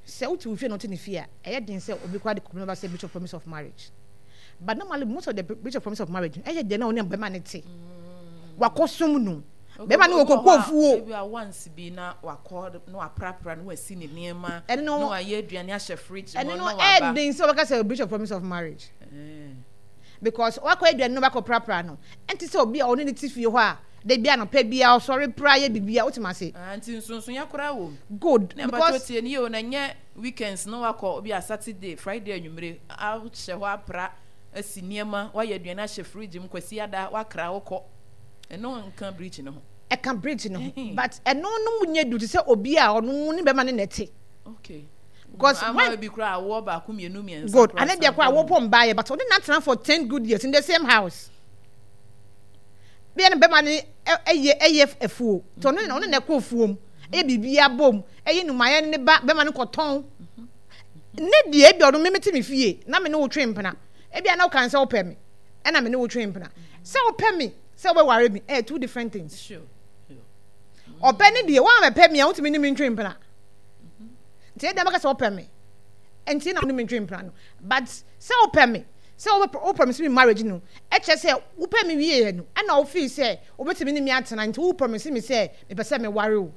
Sɛ wote wo fie na wote ne fie a, ɛyɛ den sɛ obi koraa de kɔmɛ ba sɛ breach of promise of marriage. But normally most of the breach of promise of marriage ɛyɛ deɛ na ɔne bɛma ne te. Wakɔsom no. Bɛma no wɔ koko fuo.
Ebi a once bi na wakɔ na waprapra na wasi ne nneɛma na wayɛ aduane ahyɛ fridge mu
na
waba.
Ɛno no ɛyɛ den sɛ wɔbɛka sɛ breach of promise of marriage. Because wakɔ aduane na wakɔ prapra no ɛnte sɛ obi a ɔne ne te fie hɔ a da bi anɔpa bi a ɔsɔre pra yɛ biribi a wote ase.
Ah, nti nsonsonoeɛ koraa wɔ mu.
Good.
Na because tie nie o na nyɛ weekends na wakɔ obi a Saturday, Friday anwummere ahyɛ hɔ apra asi nneɛma wayɛ aduane ahyɛ fridge mu kwasi ada wakra wokɔ. Ɛno nka bridge no ho.
Ɛka bridge no ho but ɛno no mu nyɛ du te sɛ obi a ɔno ne bɛma ne na ɛte.
Okay.
Because
when
when
bi koraa awoɔ baako mmienu mmiɛnsa.
Good. Ane deɛ koraa awoɔ pɔ mbaayɛ but ɔne na atena for ten good years in the same house. Bia ne bɛma ne ɛyɛ ɛyɛ afuo. Nti ɔno ɔne na ɛkɔ afuo mu. Ɛyɛ biribi abom. Ɛyɛ numayɛ ne ba bɛma no kɔtɔn. Ne deɛ ebi ɔno me te me fie na me ne wo twe mpena. Ebi a na wokan sɛ wopɛ me. Ɛna me ne wo twe mpena. Sɛ wopɛ me sɛ wobɛware me ɛyɛ two different things.
Sure.
Ɔpɛ ne deɛ wɔn a mɛpɛ me a wotumi ne me ntwe mpena. Nti ɛdeɛ bɛka sɛ wopɛ me nti na wone me ntwe mpena no but sɛ wopɛ me sɛ wo promise me marriage no ɛkyerɛ sɛ wopɛ me wieɛ no ɛna wofii sɛ wobɛtumi ne me atena nti wo promise me sɛ mepɛ sɛ meware wo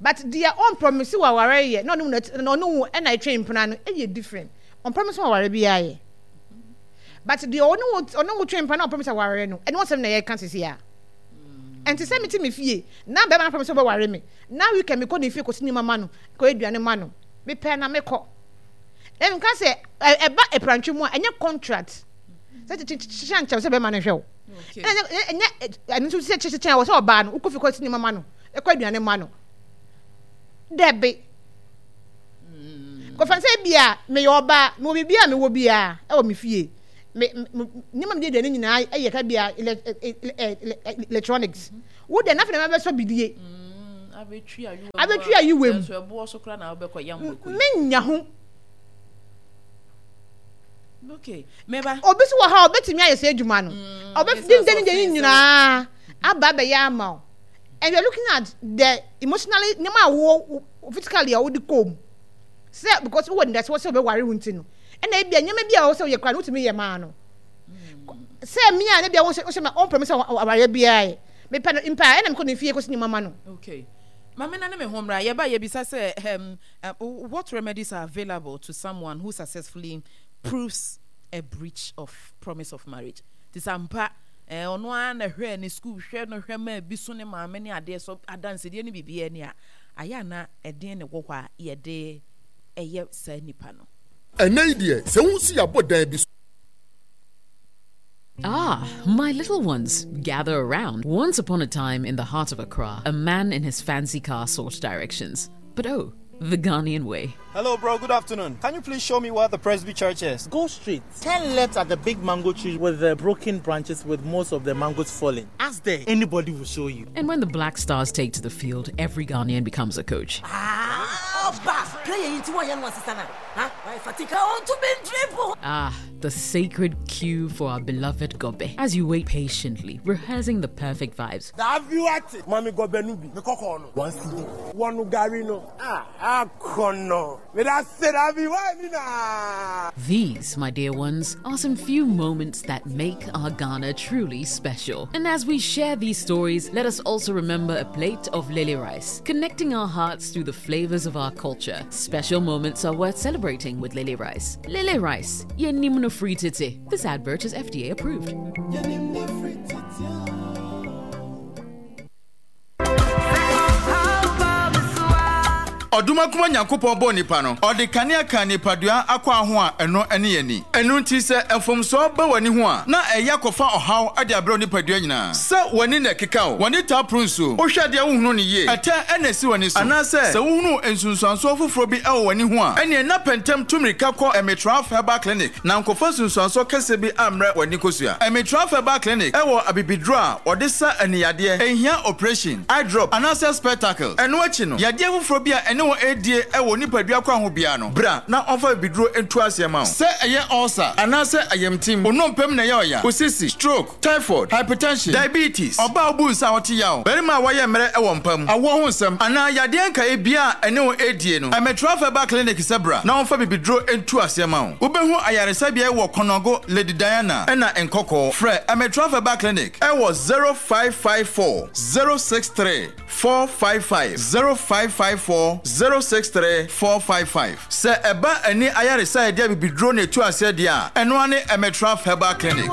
but deɛ ɔn promise wo aware yɛ na ɔne wo na ɔne wo ɛna ɛtwe mpena no ɛyɛ different ɔn promise wo aware biara yɛ but deɛ ɔne wo ɔne wo twe mpena na ɔn promise aware no ɛne wɔsɛm na yɛka sisi a ɛnti sɛ mete me fie na bɛrima no promise wobɛware me na weekend mekɔ ne fie kɔsi nneɛma ma no kɔyɛ aduane ma no mepɛ na mekɔ na meka sɛ ɛba aprantwe mu a ɛnyɛ contract sɛ kyekyɛ nkyɛw sɛ bɛrima no hwɛ wo ɛnyɛ ɛno nso sɛ kyekyɛ wɔ sɛ ɔbaa no wokɔ fie kɔsi nneɛma ma no ɛkɔ aduane ma no dɛbe Kɔfa sɛ bia meyɛ ɔbaa, mewɔ biribi a mewɔ biara ɛwɔ me fie, me nneɛma mede aduane nyinaa ɛyɛ ka bia electronics. Wo deɛ n'afei na mabɛsɔ bidie abɛtwi ayiwa mu, menya ho.
Okay, meba.
Obi so wɔ ha a obetumi ayɛ sɛ adwuma no, ɔbɛdi ndɛ ne deɛ nyinaa aba abɛyɛ ama wo, and you are looking at the emotionally nneɛma a wo physically a wode kɔɔ mu sɛ because wowɔ nidasoɔ sɛ wobɛware wo nti no, ɛna ebia nneɛma bi a wɔwɔ sɛ woyɛ koraa no wotumi yɛ maa no sɛ me a ne bia wohyɛ wohyɛ ma ɔmpɛ me sɛ awareɛ biara yɛ mepɛ no mpa ɛna mekɔ ne fie kɔsi nneɛma ma no.
Okay. Mame na ne me ho mmra. Yɛba yɛbisa sɛ um, uh, what remedies are available to someone who successfully proves a breach of promise of marriage? Ti sɛ ampa eh, ɔno ara na hwɛ ne school hwɛ no hwɛ ma bi so ne maame ne adeɛ so adansedie ne biribiara ni a ayɛ ana ɛdeɛn na ɛwɔ hɔ a yɛde ɛyɛ saa nipa no?
Ɛnnɛ yi deɛ, sɛ wohu sɛ yɛabɔ dan bi so.
Ah, my little ones, gather around. Once upon a time in the heart of Accra, a man in his fancy car sought directions. But oh, the Ghanaian way.
Hello, bro. Good afternoon. Can you please show me where the Presby Church is?
Go straight. Turn left at the big mango tree with the broken branches with most of the mangoes falling. Ask there. Anybody will show you.
And when the Black Stars take to the field, every Ghanaian becomes a coach.
Ah,
Ah, the sacred queue for our beloved Gobe. As you wait patiently, rehearsing the perfect vibes.
Mami gobe no bi. Me kɔkɔɔ no. One cedi. One gari no. Ah, akɔnɔ.
These, my dear ones, are some few moments that make our Ghana truly special. And as we share these stories, let us also remember a plate of lily rice, connecting our hearts through the flavors of our culture. Special moments are worth celebrating with lily rice. Lily rice, yenimno free titi. This advert is F D A approved.
Ɔdomankoma Nyankopɔn bɔɔ nipa no, ɔde kanea kaa nipadua akwaa ho a ɛno ne ani. Ɛno nti sɛ mfomsoɔ ba w'ani ho a, na ɛyɛ akɔfa ɔhaw de abrɛ wo nipadua nyinaa. Sɛ w'ani na ɛkeka wo, w'ani taa poro nsuo, wohwɛ adeɛ a wonhunu no yie, ɛtɛ na ɛsi w'ani so, anaasɛ sɛ wohunu nsunsuansoɔ foforɔ bi wɔ w'ani ho a, ɛneɛ na pɛ ntɛm tu mmirika kɔ Emitraf Herbal Clinic na nkɔfa nsunsuansoɔ kɛseɛ bi ammrɛ w'ani kosua. Emitraf Herbal Clinic wɔ abibiduro a wɔde sa aniyadeɛ, ɛnhia oprehyɛn, eye drop, anaasɛ spectacles. Ɛno akyi no, yadeɛ foforɔ bi a ɛne wo redie wɔ nipadua kwan ho biara no, bra na ɔmfa bibiduro ntu aseɛ ma wo. Sɛ ɛyɛ ulcer anaasɛ ayamtim, wo nnompe mu na ɛyɛ ɔya, wo sisi, stroke, typhoid, hypertension, diabetes, ɔbaa a wobu nsa a ɔte yaw, barima a wayɛ mmerɛ wɔ mpa mu, awoɔ ho nsɛm, anaa yadeɛ nkaeɛ biara a ɛne wo redie no, Ɛmetra Herbal Clinic sɛ bra na ɔmfa bibiduro ntu aseɛ ma wo. Wobɛhu ayaresabea yi wɔ Kɔnɔgo, Lady Diana, ɛna Nkɔkɔɔ. Frɛ Ɛmetra Herbal Clinic wɔ zero five five four zero six three four five five, zero five five four zero six three four five five. Sɛ ɛba ani ayaresa a yɛde abibiduro na ɛtu aseɛ deɛ a, ɛno ara ne Emetraf Herbal Clinic.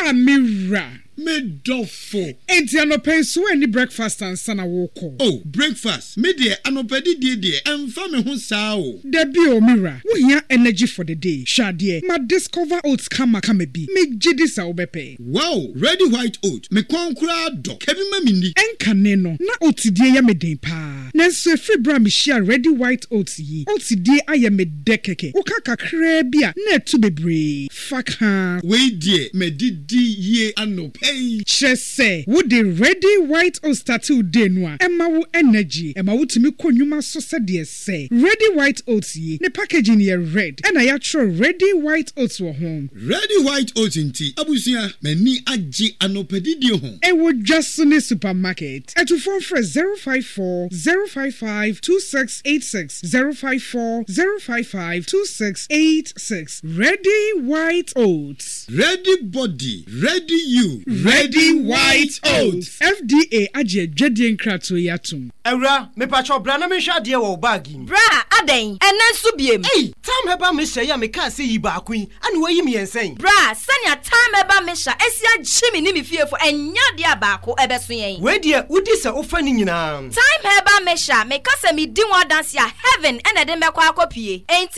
Ah me wura.
Me dɔfo.
Enti anɔpa yi so woanni breakfast ansa na worekɔ?
Oh, breakfast? Me deɛ anɔpa didie deɛ ɛmfa me ho saa o.
Dabi o, me wura. Wohia energy for the day. Hwɛ adeɛ, ma discover oats kama kama bi. Megye di sɛ wobɛpɛ.
Wow, Ready White Oat, me kɔn koraa dɔ. Ka bi ma menni.
Ɛnkane no, na oats die yɛ me den paa. Nanso ɛfiri berɛ a mehyiaa Ready White Oats yi, oats die ayɛ me dɛ kɛkɛ. Woka kakraa bi a, na ɛto bebree. Fa ka.
Wei deɛ madidi yie anɔpa yi.
Kyerɛ sɛ, wode Ready White Oats starte wo day no a, ɛma wo energy. Ɛma wotumi kɔ nnwuma so sɛdeɛ ɛsɛ. Ready White Oats yi, ne packaging yɛ red, ɛna yɛatwerɛ Ready White Oats wɔ ho.
Ready White Oats nti, abusua, m'ani agye anɔpa didie ho.
Ɛwɔ dwa so ne supermarket. Atufoɔ mfrɛ zero five four zero five five two six eight six, zero five four zero five five two six eight six. Ready White Oats.
Ready body, ready you.
Ready White Oats. F D A agye adwadie nkratoɔ yi atom.
Awura, mepakyɛw bra na menhwɛ adeɛ wɔ wo bag yi mu.
Bra, adɛn? Ɛnnɛ nso biem?
Ei! Thyme Herbal Mixture yi a mekaa sɛ yi baako yi, ɛna woayi mmiɛnsa yi.
Bra, sɛnea Thyme Herbal Mixture asi agye me ne me fiefo, ɛnyɛ adeɛ a baako ɛbɛso yɛn.
Wei deɛ, wodi sɛ wofa ne nyinaa.
Thyme Herbal Mixture, meka sɛ medi ho adanse a, heaven ɛna ɛde me bɛkɔ akɔpie. Enti